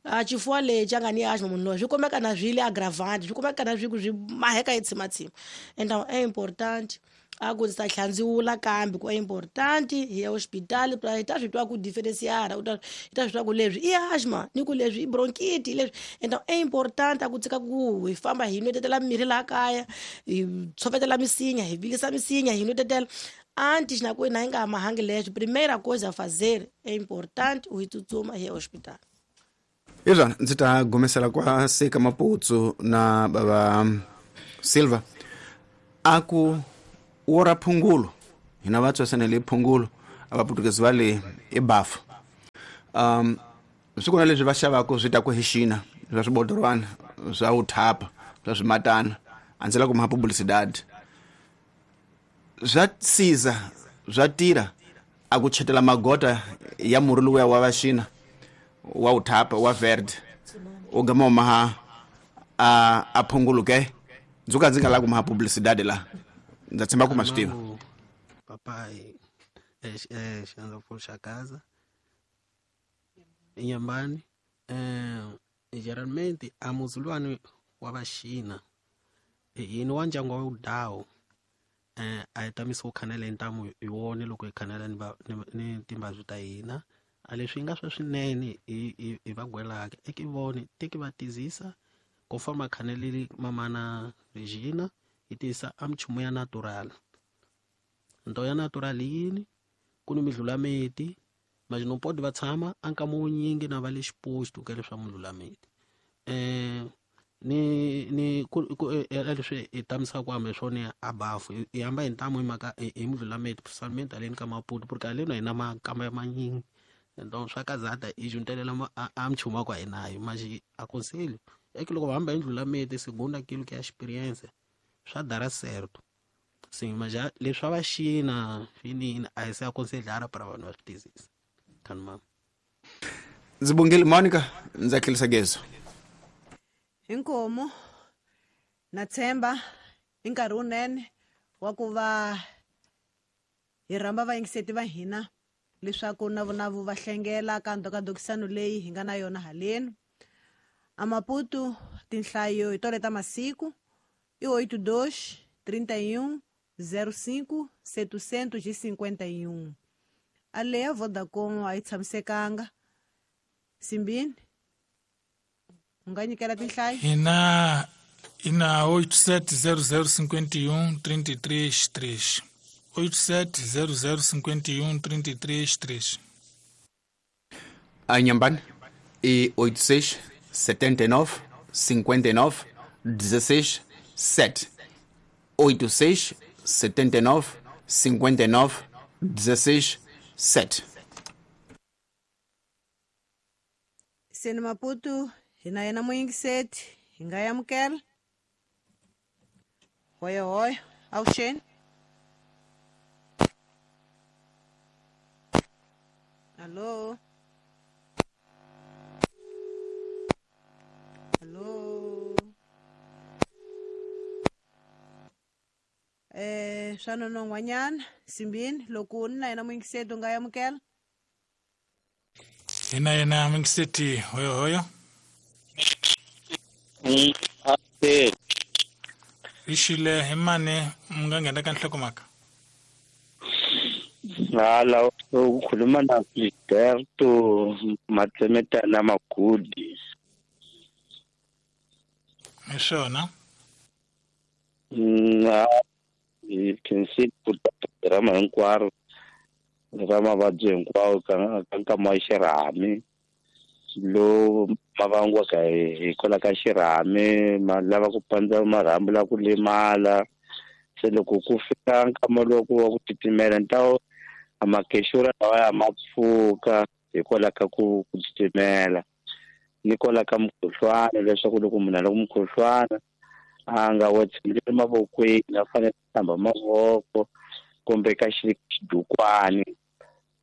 S1: a xifuva lexi a nga ni asthma munhu loyi swi kumeka na swi le aggravante swi kumeka na swi ku swi maheka hi tshimatshima. Então é importante A ku ndzi ta tlhandziwula kambe ku importante hi ya hospitali pra hi ta swi twa ku diferenciara u ta hi ta swi twa ku leswi i asthma ni ku leswi i bronchite leswi. Então é importante a ku tshika ku hi famba hi nwetetela mirhi laha kaya, hi tshovetela misinya, hi vilisa misinya, hi nwetetela antes na ku na hi nga mahangi leswi. Primeira coisa a fazer é importante u hi tsutsuma hi ya hospital.
S5: Izvana ndzi ta gomesela kwa Seka Maputsu na baba Silva a ku wora phungulo hina vatswesanele phungulo a vaputukezi va le i bafu swi kona leswi va xavaka swi ta ku hi xina swa swibodorwana swa uthapa swa swimatana a ndzi la ku maha publicidade swa siza swa tirha a ku chetela magota ya murhi luya wa vaxina wa uthapa wa verde u gama u maha a phunguluke ndzi ka ndzi nga lavi ku maha publicidade la ndza tshemba ku ma swi tiva.
S3: Papai Xanza Nyambani geralmente a muzulwani wa vaxina yini wa ndyangu wa udawu a hi tamisi ku khanela hi ntamu hi wona loko hi khanela ni timbabyi ta hina a leswi nga swa swinene hi va gwelaka eki vone teki va tizisa ku famba khaneleli mamana Regina hi tisa a minchumu ya natural nto ya natural yini ku ni midlulameti mas não pode va tshama a nkama wunyingi na va le xiposto ka leswa midlulameti ni ku leswi hi tamisaka ku hamba hi swona a bafu hi hamba hi ntamu hi mhaka hi midlulameti principalmente haleni ka Maputo porque haleni a hi na makamba ya manyingi então swa kazata hi juntelela a minchumu wa ku a hi nayo mas aconselho é que loko va hamba hi ndlulameti segundo aquilo que é a experiência swa dara certo sim mas já leswi swa vaxina swinini a hi se aconselhar para vanhu va swi tizisa mama.
S5: Ndzi bongile Monica ndza tlherisa gezo
S2: inkomo na tshemba i nkarhi wunene wa ku va hi rhamba vayingiseti va hina leswaku na vona vo va hlengela ka ndhokadokisano leyi hi nga na yona haleni a Maputo tinhlayo hi tole ta masiku i 82 31 05 751 a leya Vodacom a yi tshamisekanga Simbini u nga nyikela tinhlayo
S4: hina ina 870051 33 3 870051 33 3
S5: a Nyambani i 86 79 59 16 7 86 79 59 16 7.
S2: Seni Maputo hina yena muyingiseti hi nga yamukela hoyo hoyo avuxeni allo allo swa nonon'hwanyana Simbini loko ni na yena muyingiseti u nga yamukela
S4: hina yena muyingiseti hoyo hoyo hi xile hi mani mi nga nghena ka nhlokomhaka
S6: hala u khuluma na Filiberto Matsemetana Magudi
S4: hi swona
S6: hi khensile ku programa hinkwaro ra mavabyi hinkwawo ka nkama wa xirhami lowu ma vangiwaka hikwalaho ka xirhami ma lava ku pandza marhambu la ku lemala se loko ku fika nkama lowu ku wa ku titimela ntawo a makexura lawa ya ma pfuka hikwalaho ka ku titimela ni kwalaho ka mukhuhlwana leswaku loko munhu a loko mukhuhlwana a nga wa tshembeli mavokweni a fanele a hlamba mavoko kumbe ka xidukwani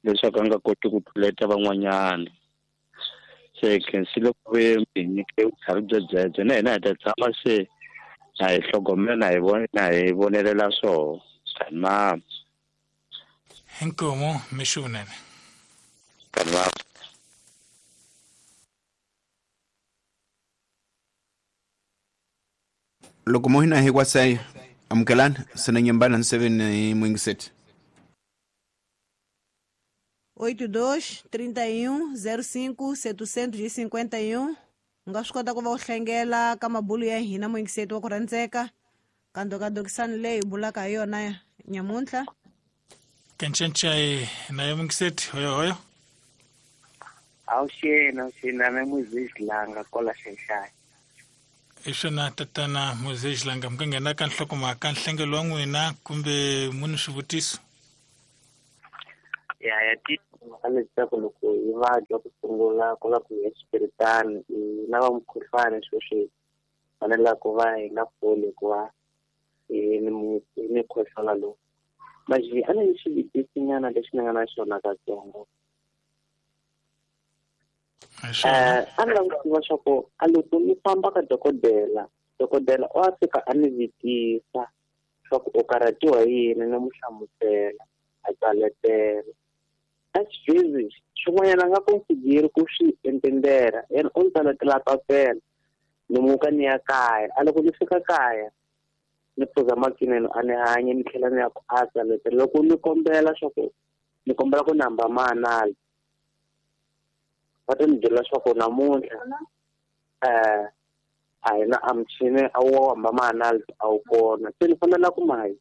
S6: leswaku a nga koti ku tluleta van'wanyana se khensile ku ve hi nyike vutlhari bya byebyo na hina hi ta tshama se na hi hlogomela na hi vona na hi vonelela swoho kanimama
S4: inkomo mixo vunene
S6: kanimama
S5: loko mo hina hi kwasaya Amukelani sena nyambana 7 mwingiseti
S2: 82 31 05 751 u nga swi kota ku va u hlengela ka mabulu ya hina muyingiseti wa ku rhandzeka ka ndokadokisani leyi hi bulaka hi yona nyamuntlha.
S4: Kencencai naye mwingiseti hoyo hoyo.
S7: Awuxeni na muzizilanga kwala xexai.
S4: Hi swona tatana Muzizilanga, mi nga nghena ka nhlokomhaka nhlengelo wa n'wina kumbe muni swivutiso?
S7: Ya timhaka leswaku loko hi vabya ku sungula ku va ku ya xipiritani hi lava mukhuhlwani sweswi fanela ku va hi nga foli hikuva hi ni mukhuhlwana lowu. Manje a ni xivutisinyana lexi ni nga na xona katsongo. A ni lava ku tiva swa ku a loko ni famba ka dokodela o a fika a ni vitisa swa ku u karhatiwa hi yini, ni mu hlamusela a tsaletela. A xivezi xin'wanyana a nga consideri ku swi entendera, yena u ni tsaletela papela ni muka ni ya kaya. A loko ni fika kaya ni phuza makinene a ni hanye ni tlhela ni ya ku a tsaletela. Loko ni kombela swa ku ni kombela ku namba maanali va ta ni byela swa ku namuntlha a hi na a muchini a wu hamba maanali a wu kona, se ni fanela ku mayi.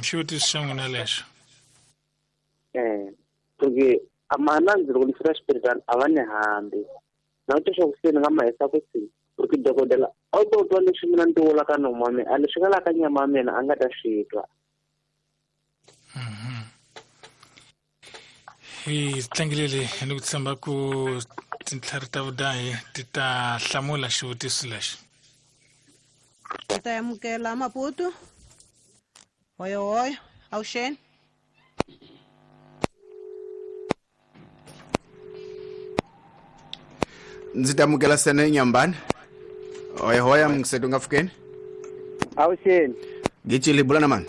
S4: Xivutiso xa n'wina lexo.
S7: Porque a maanali loko ni fika xipiritani a va ni hambi na ku twa swa ku se ni nga ma hisa ku si porque dokodela a wu to twa leswi mina ni ti vulaka nomu wa mina, a leswi nga la ka nyama ya mina a nga ta swi twa.
S4: Hi tlangelele ni ku tshemba ku tintlhari ta vudahi ti ta hlamula xivutiso lexi.
S2: Hi ta amukela Maputo. Hoyo hoyo, awuxeni.
S5: Ndzi ta amukela sene nyambani. Hoyo hoyo mngisetu nga fukeni.
S8: Awuxeni.
S5: Gicili bula na mani.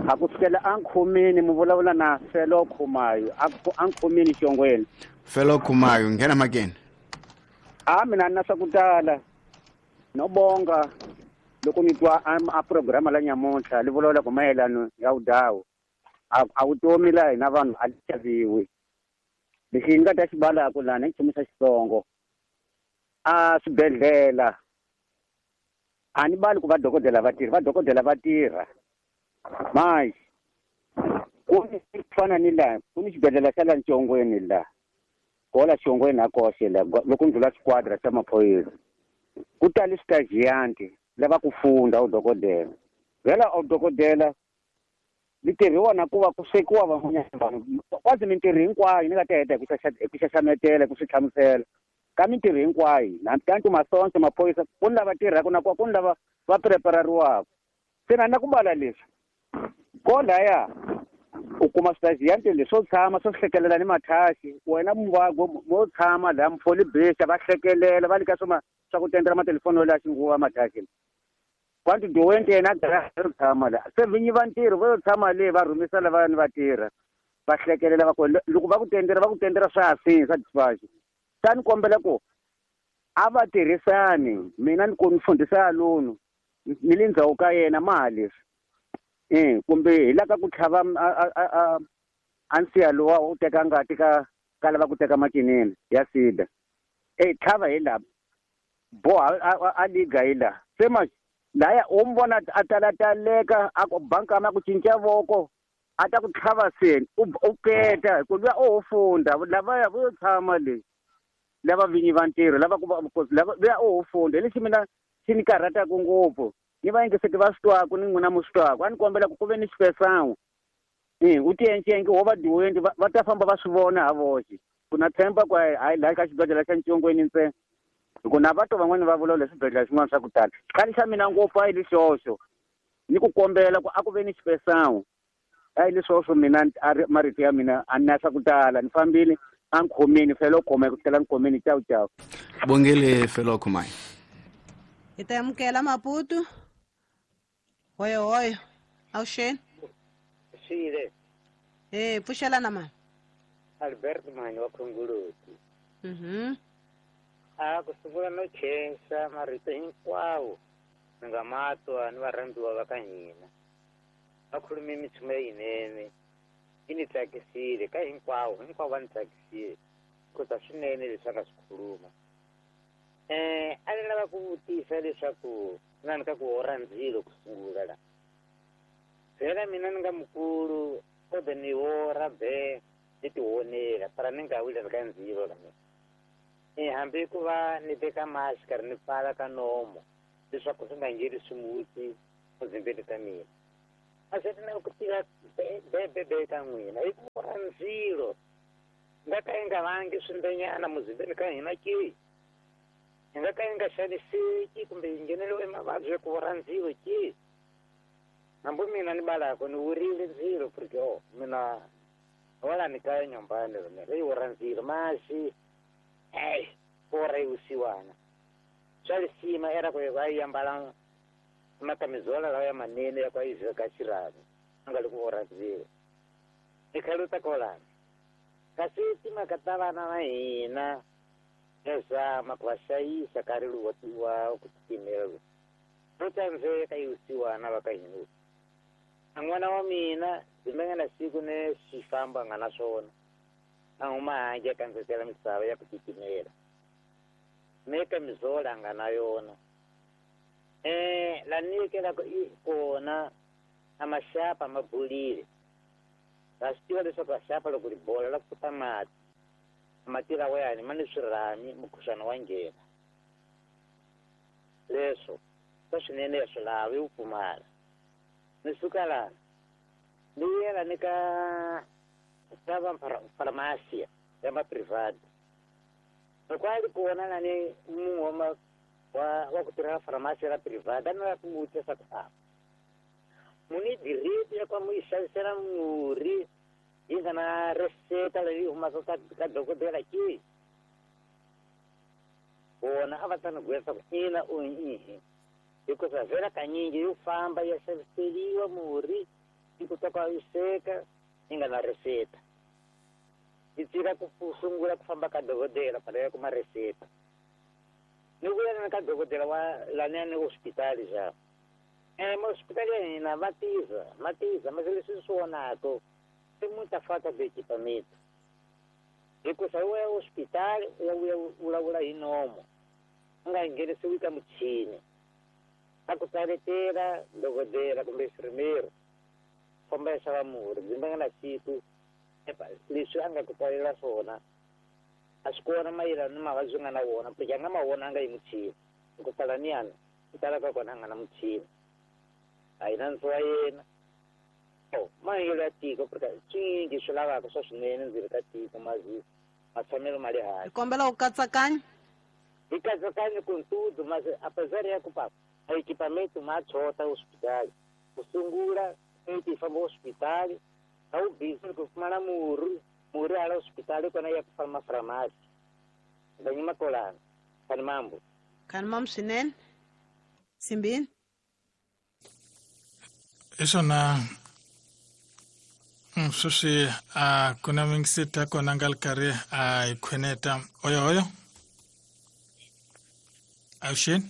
S8: A ku sukela a nkhumini mi vulavula na Felo Khumayo, a nkhumini xongweni.
S5: Felo Khumayo, nghena makeni.
S8: A mina na swa ku tala no bonga loko ni twa a programa la nyamuntlha li vulavula ku mayelano ya vudawu. A vutomi la hina vanhu a li xaviwi. Lexi ni nga ta xi balaka lana i nchumu xa Xitsongo. A swibedhlele a ni bali ku vadokodela va tirha, vadokodela va tirha. Manje ku fana ni la ku ni xibedhlele xa la Ntshongweni la kola Xongweni a koxe la loko ndlula squadra xa maphorisa ku tali sitagiyanti lava ku funda udokodela. Vhela udokodela li tirhiwa na ku va ku swekiwa van'wanyana vanhu kwazi mintirho hinkwayo ni nga ta heta hi ku xaxametela ku swi hlamusela ka mintirho hinkwayo na tantu masonto maphorisa ku ni lava tirhaka na ku ni lava va preparariwaka. Se na ku bala leswi kolaya u kuma switagiyanti leswo tshama swo hlekelela ni mathasi wena muvago mo tshama laha mufoli besa va hlekelela va lika swa ku tendela matelefoni la xinguva mathasi kwantu doente yena a tshama la se vinyi va ntirho vo tshama le va rhumisa lava ni va tirha va hlekelela va ku loko va ku tendela swa hasini swa dispatch. Ta ni kombela ku a va tirhisani mina ni ku ni fundisa lono ni le ndzhaku ka yena mali leswi kumbe hi la ka ku tlhava a nsiya lowa u teka ngati ka lava ku teka makinene ya sida tlhava hi la boha a liga hi la se ma laya u mi vona a talataleka a ku bankama ku cinca voko a ta ku tlhava seni u keta hi ku luya o ho funda lavaya vo yo tshama le lava vinyi va ntirho lava ku lava luya o ho funda hi lexi mina xi ni karhataka ngopfu ni va yingiseti va swi twaku ni n'wina mu swi twaku a ni kombela ku ve ni xipesan'we u tiencenke wo va diwendi va ta famba va swi vona ha voxe ku na tshemba ku hayi laha ka xibedhlele xa Ntshongweni ntsena hi ku na vato van'wani va vulavula swibedhlele swin'wana swa ku tala khale xa mina ngopfu a yi lexoxo ni ku kombela ku a ku ve ni xipesan'we a yi leswoxo mina marito ya mina a ni na swa ku tala ni fambile a nkhomeni felo khoma ku tlhela nkhomeni cawu cawu.
S5: Bongele felo khomayo.
S2: Hi ta amukela Maputo. Hoyo hoyo, awuxeni.
S9: Xile.
S2: Pfuxelana mani.
S9: Albert Mani wa Khongoloti. A ku sungula no khensa marito hinkwawo ni nga ma twa ni varhambiwa va ka hina. Va khulume minchumu leyinene yi ni tsakisile ka hinkwavo, hinkwavo va ni tsakisile kota swinene leswi a nga swi khuluma. A ni lava ku vutisa leswaku na ni ka ku orha ndzilo ku sungula la. Phela mina ni nga mukulu kodwa ni orha be ni tionela para ni nga wile ka ndzilo la mina. Hambi ku va ni veka mask karhi ni pfala ka nomo leswaku swi nga ngheni swimuti muzimbeni ka mina. A swi na ku tiva be ka n'wina hi ku orha ndzilo nga ka yi nga vangi swimbenyana muzimbeni ka hina ke. Hi nga ka yi nga xaniseki kumbe yi ngheneriwe mavabyi ya ku orha ndzilo ke. Hambi mina ni balako ni wurile ndzilo porque mina wala ni kaya nyumbani mina leyi orha ndzilo masi orha yi vusiwana swa lisima era ku va yi ambala makamizola lawa ya manene ya ku yi veka xirhami a nga le ku orha ndzilo. Ni khaluta kolana kasi timhaka ta vana va hina ya zama ku va hlayisa nkarhi lowu wa ku titimela ro tsandzeka yi vusiwana va ka hina. A n'wana wa mina ndzi nga na siku ni xifambo a nga na swona a huma handle a kandzetela misava ya ku titimela me kamizola a nga na yona. La nikelaka kona a maxapa ma bolile. Va swi tiva leswaku maxapa loko ri bola la ku ta mati mati lawa yani ma ni swirhami mukhuhlwana wa nghena. Leswo swa swinene ya swi lavi wu pfumala. Ni suka lana ni yela ni ka va farmasiya ya ma private. Loko a ri kona na ni munhu wa ku tirhela farmasiya ya private a ni lava ku vutisa ku a muni direct ya ku mu yi xavisela murhi yi nga na reseta leyi humaka ka dokodela ke. Vona a va ta ni gwesa ku ina u ihi hikuva vhela kanyingi yo famba ya xaviseriwa murhi yi kota ku yi seka yi nga na reseta. Yi tshika ku sungula ku famba ka dokodela para ya kuma reseta. Ni vuya na ka dokodela wa laniya ni hospitali xa. Hospitali ya hina va tiza mase leswi swi vonaka i muita falta de equipamento. Hikuva u ya hospitali u ya vuya vulavula hi nomo u nga nghenisiwi ka muchini. A ku tsaletela dokodela kumbe infirmero famba ya xava murhi ndzi nga na siku leswi a nga ku tsalela swona a swi kona mayelana ni mavabyi nga na wona porque a nga ma vona a nga yi muchini. Ku tala niyana ku tala ka kona a nga na muchini a yi na ndzo wa yena. Mahanyelo ya tiko porque swinyingi swi lavaka swa swinene ndzeni ka tiko matshamelo ma le hansi.
S2: Hi kombela u katsakanya.
S9: Hi katsakanya ku ntudu mase apesar ya ku pa equipamento ma chota hospitali ku sungula ti famba hospitali a wu busy ku fumana murhi hala hospitali kona ya ku famba farmasi. Ndanyima kolana khani mambo.
S2: Khani mambo swinene. Simbini.
S4: Hi swona sweswi a ku na mingisita kona nga ri karhi a hi khweneta. Oyo oyo avuxeni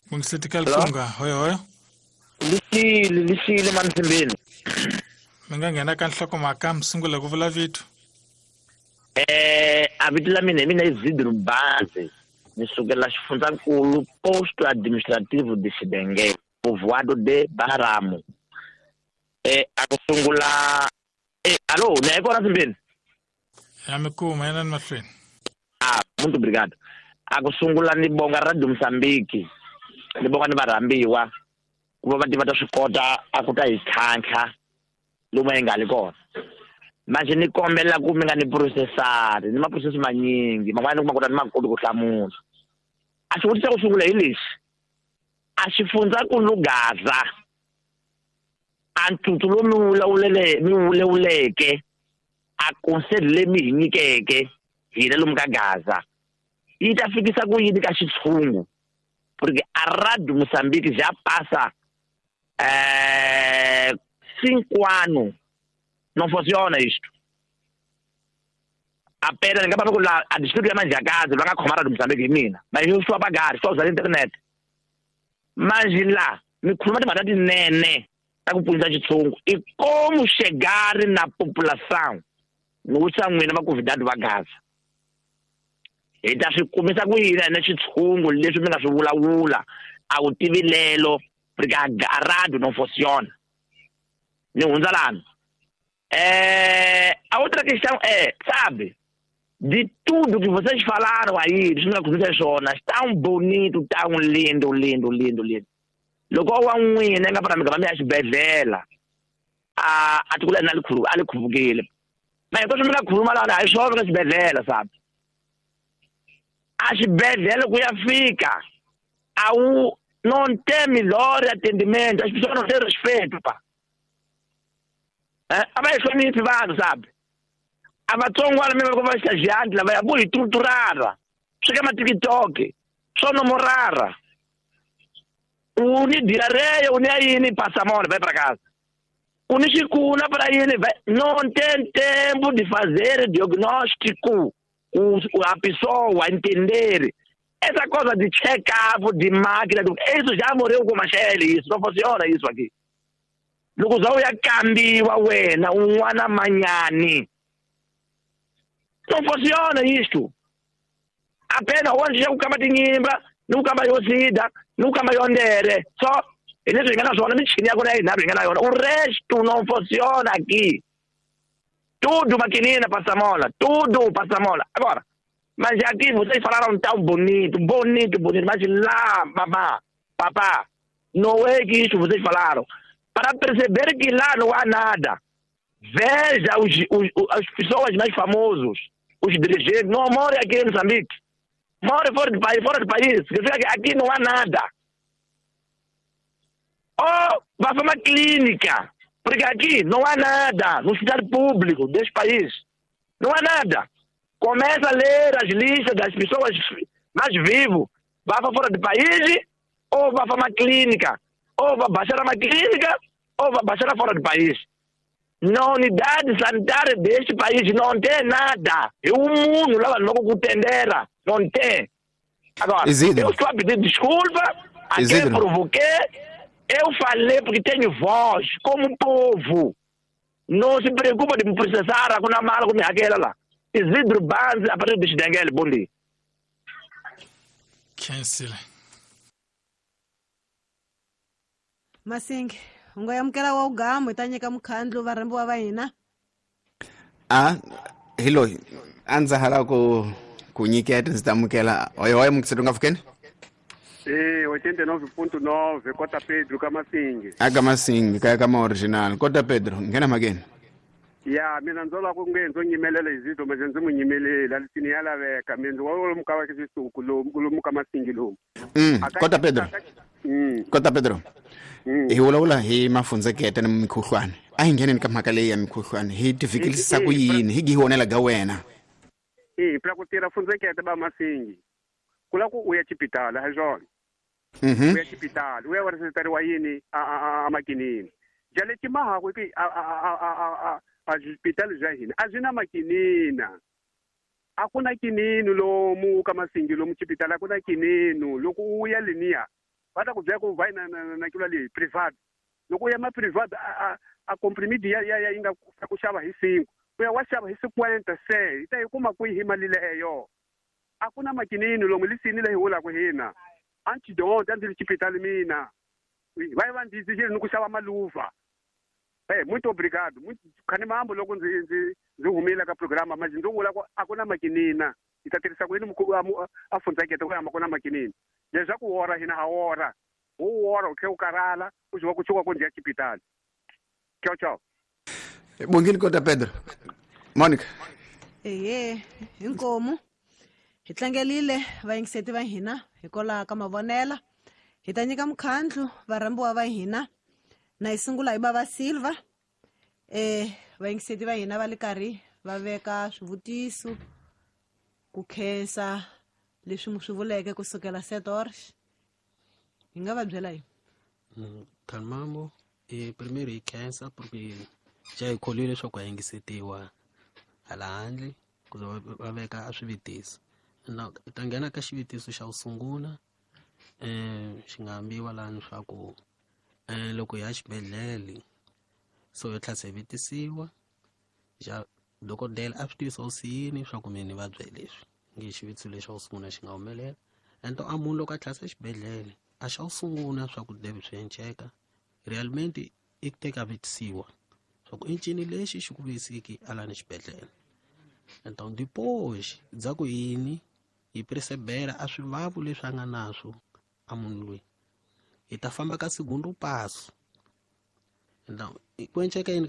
S4: mungiseti ka lifunga. Oyo oyo
S10: lixile mani Simbini.
S4: Mi nga nghena ka nhlokomhaka mi sungula ku vula vito.
S10: A vito la mina hi mina i Zidru Bazi ni sukela xifundzankulu posto administrativo de Xibengele povoado de Baramo. A ku sungula alo ni ya kona Simbini?
S4: Ya mi kuma yena ni mahlweni.
S10: Muito obrigado. A ku sungula ni bonga Radio Mozambique ni bonga ni varhambiwa ku va va tiva ta swi kota a ku ta hi tlhantlha lomu hi nga li kona. Manje ni kombela ku mi nga ni processari ni ma-process manyingi man'wana ni kuma ku ta ni ma koti ku hlamula. A xivutiso xa ku sungula hi lexi a xifundzankulu Gaza a ntutu lowu mi vulavuleke a conselho leyi mi hi nyikeke hina lomu ka Gaza yi ta fikisa ku yini ka xitshungu porque a Radio Mozambique já passa 5 anos não funciona isto. Apena ni nga va ku la a distrito ya Manjakazi va nga khoma Radio Mozambique hi mina. Mas eu sou apagar, só usar internet. Mas lá, me khuluma timhaka tinene ta ku pfunisa xitshungu i como chegar na população. Ni wisa n'wina vaconvidado va Gaza. Hi ta swi kumisa ku yini na xitshungu leswi mi nga swi vulavula a wu tivi lelo porque a rádio não funciona. Ni hundza lani. A outra questão é, sabe, de tudo que vocês falaram aí, leswi mi nga khulumisa swona, tão bonito, tão lindo, lindo, lindo, lindo. Loko wa n'wina nga fana mi gama mi ya xibedhlele a tikula na a li khuvukile. Ma hinkwaswo mi nga khuluma lana a hi swona ka xibedhlele, sabe. A xibedhlele ku ya fika a wu não tem melhor atendimento, as pessoas não têm respeito, pá. A va hi hloniphi vanhu, sabe. A vatsongwana mi va va estagiante lava ya vo hi torturara swi ka ma-TikTok swo nomorara u ni diarreia u ni ya yini passa mal vai para casa u ni xikuna para yini não tem tempo de fazer diagnóstico a pessoa entender essa coisa de check-up de máquina isso já morreu com Machele, isso não funciona isso aqui. Loko za u ya kambiwa wena un'wana manyani não funciona isto. Apenas onde já ku kamba tinyimba ni ku kamba yo sida ni ku kamba yo ndere só hi leswi hi nga na swona michini ya kona ya yinharhu hi nga na yona o resto não funciona aqui. Tudo maquinina passa mola, tudo passa mola. Agora, mas aqui vocês falaram tão bonito, bonito, bonito, mas lá, babá, papá, não é que isso vocês falaram. Para perceber que lá não há nada. Veja as pessoas mais famosas, os dirigentes, não moram aqui em Moçambique. Moram fora do país, Significa que aqui não há nada. Ou vá para uma clínica, porque aqui não há nada, no hospital público deste país. Não há nada. Começa a ler as listas das pessoas mais vivas. Vá para fora do país ou vá para uma clínica. Ou vá baixar uma clínica ou vá baixar fora do país. Na unidade sanitária deste país não tem nada. E o mundo lá não contendera. Não tem. Agora,
S5: Isidro,
S10: eu estou a pedir desculpa a quem
S5: Isidro,
S10: provoquei. Eu falei porque tenho voz, como povo. Não se preocupa de me processar com a mala, com aquela lá. Isidro Banzi, a partir de Xidengele, bom dia.
S4: Cancel.
S2: Masingi, u nga amukela wa ugamu hi ta nyika mukhandlu varhambiwa va hina.
S5: A hi loyi a ndza ha lava ku nyiketa ndzi ta amukela oyo mukiseti u nga pfukeni.
S11: 89.9 Kota Pedro ka Masingi.
S5: Aka Masingi kaya ka ma original Kota Pedro nghena mhakeni.
S11: Ya mina ndzo lava ku nge ndzo nyimelela Isidro manje ndzi n'wi nyimelela lisini ya laveka mina ndzi wa lomu ka xisuku lomu ka Masingi lomu.
S5: Kota Pedro. Kota Pedro. Hi vulavula hi mafundzekete ni mikhuhlwani. A hi ngheneni ka mhaka leyi ya mikhuhlwani hi tifikilisa ku yini hi gi honela ga wena.
S11: Pra ku tirha fundzekete ba Masingi. Ku la ku u ya xipitala hi swona. U ya xipitala u ya wa yini a makinini. Jale timaha ku a xipitala bya hina a byi na makinina. A ku na kinini lomu ka Masingi lomu xipitala a ku na kinini loko u ya leniya va ta ku byela ku va na na kula leyi private. Loko u ya ma private a comprimido ya yi nga ku xava hi 5 u ya wa xava hi 50 se yi ta yi kuma kwihi mali leyo. A ku na makinini lomu lisini leyi vulaka hina antidote a ndzi ri xipitali mina va yi va ndzi ni ku xava maluva. Muito obrigado. Muito khani mambo loko ndzi humile ka programa manje ndzi vula ku a ku na makinina hi ta tirhisa ku yini a fundzekete ku ya ma ku na makinini leswaku wora hina ha wora wu wora u tlhe u karhala u ziwa ku tshuka ku ndzi ya xipitali. Tchau tchau.
S5: Bongile Kota Pedro. Monica.
S2: Ehe, inkomu. Hi tlangelile vayingiseti va hina hikwalaho ka mavonela. Hi ta nyika mukhandlu varhambiwa va hina. Na hi sungula hi Bava Silva. Vayingiseti va hina va le karhi va veka swivutiso ku khensa leswi mi swi vuleke kusukela 7 horas. Hi nga va byela yini?
S3: Khalmambo, primeiro hi khensa porque já hi kholwile leswaku ha yingisetiwa hala handle Ku za va veka a swivutiso. Na i ta nghena ka xivutiso xa ku sungula xi nga ambiwa lani swa ku loko hi ya xibedhlele so yo tlhela se vutisiwa xa dokodela a swi tivisa ku yini swa ku mina ni vabya hi leswi nge xivutiso lexi xa ku sungula xi nga humelela. And a munhu loko a tlhela xibedhlele a xa ku sungula swa ku deve swi enceka realmente i ku teka vutisiwa swa ku i ncini lexi xi ku vuyisiki a lani xibedhlele. Então depois bya ku yini hi percebera a swivavu leswi a nga naswo a munhu loyi hi ta famba ka segundo passo. Então ku enceka yini?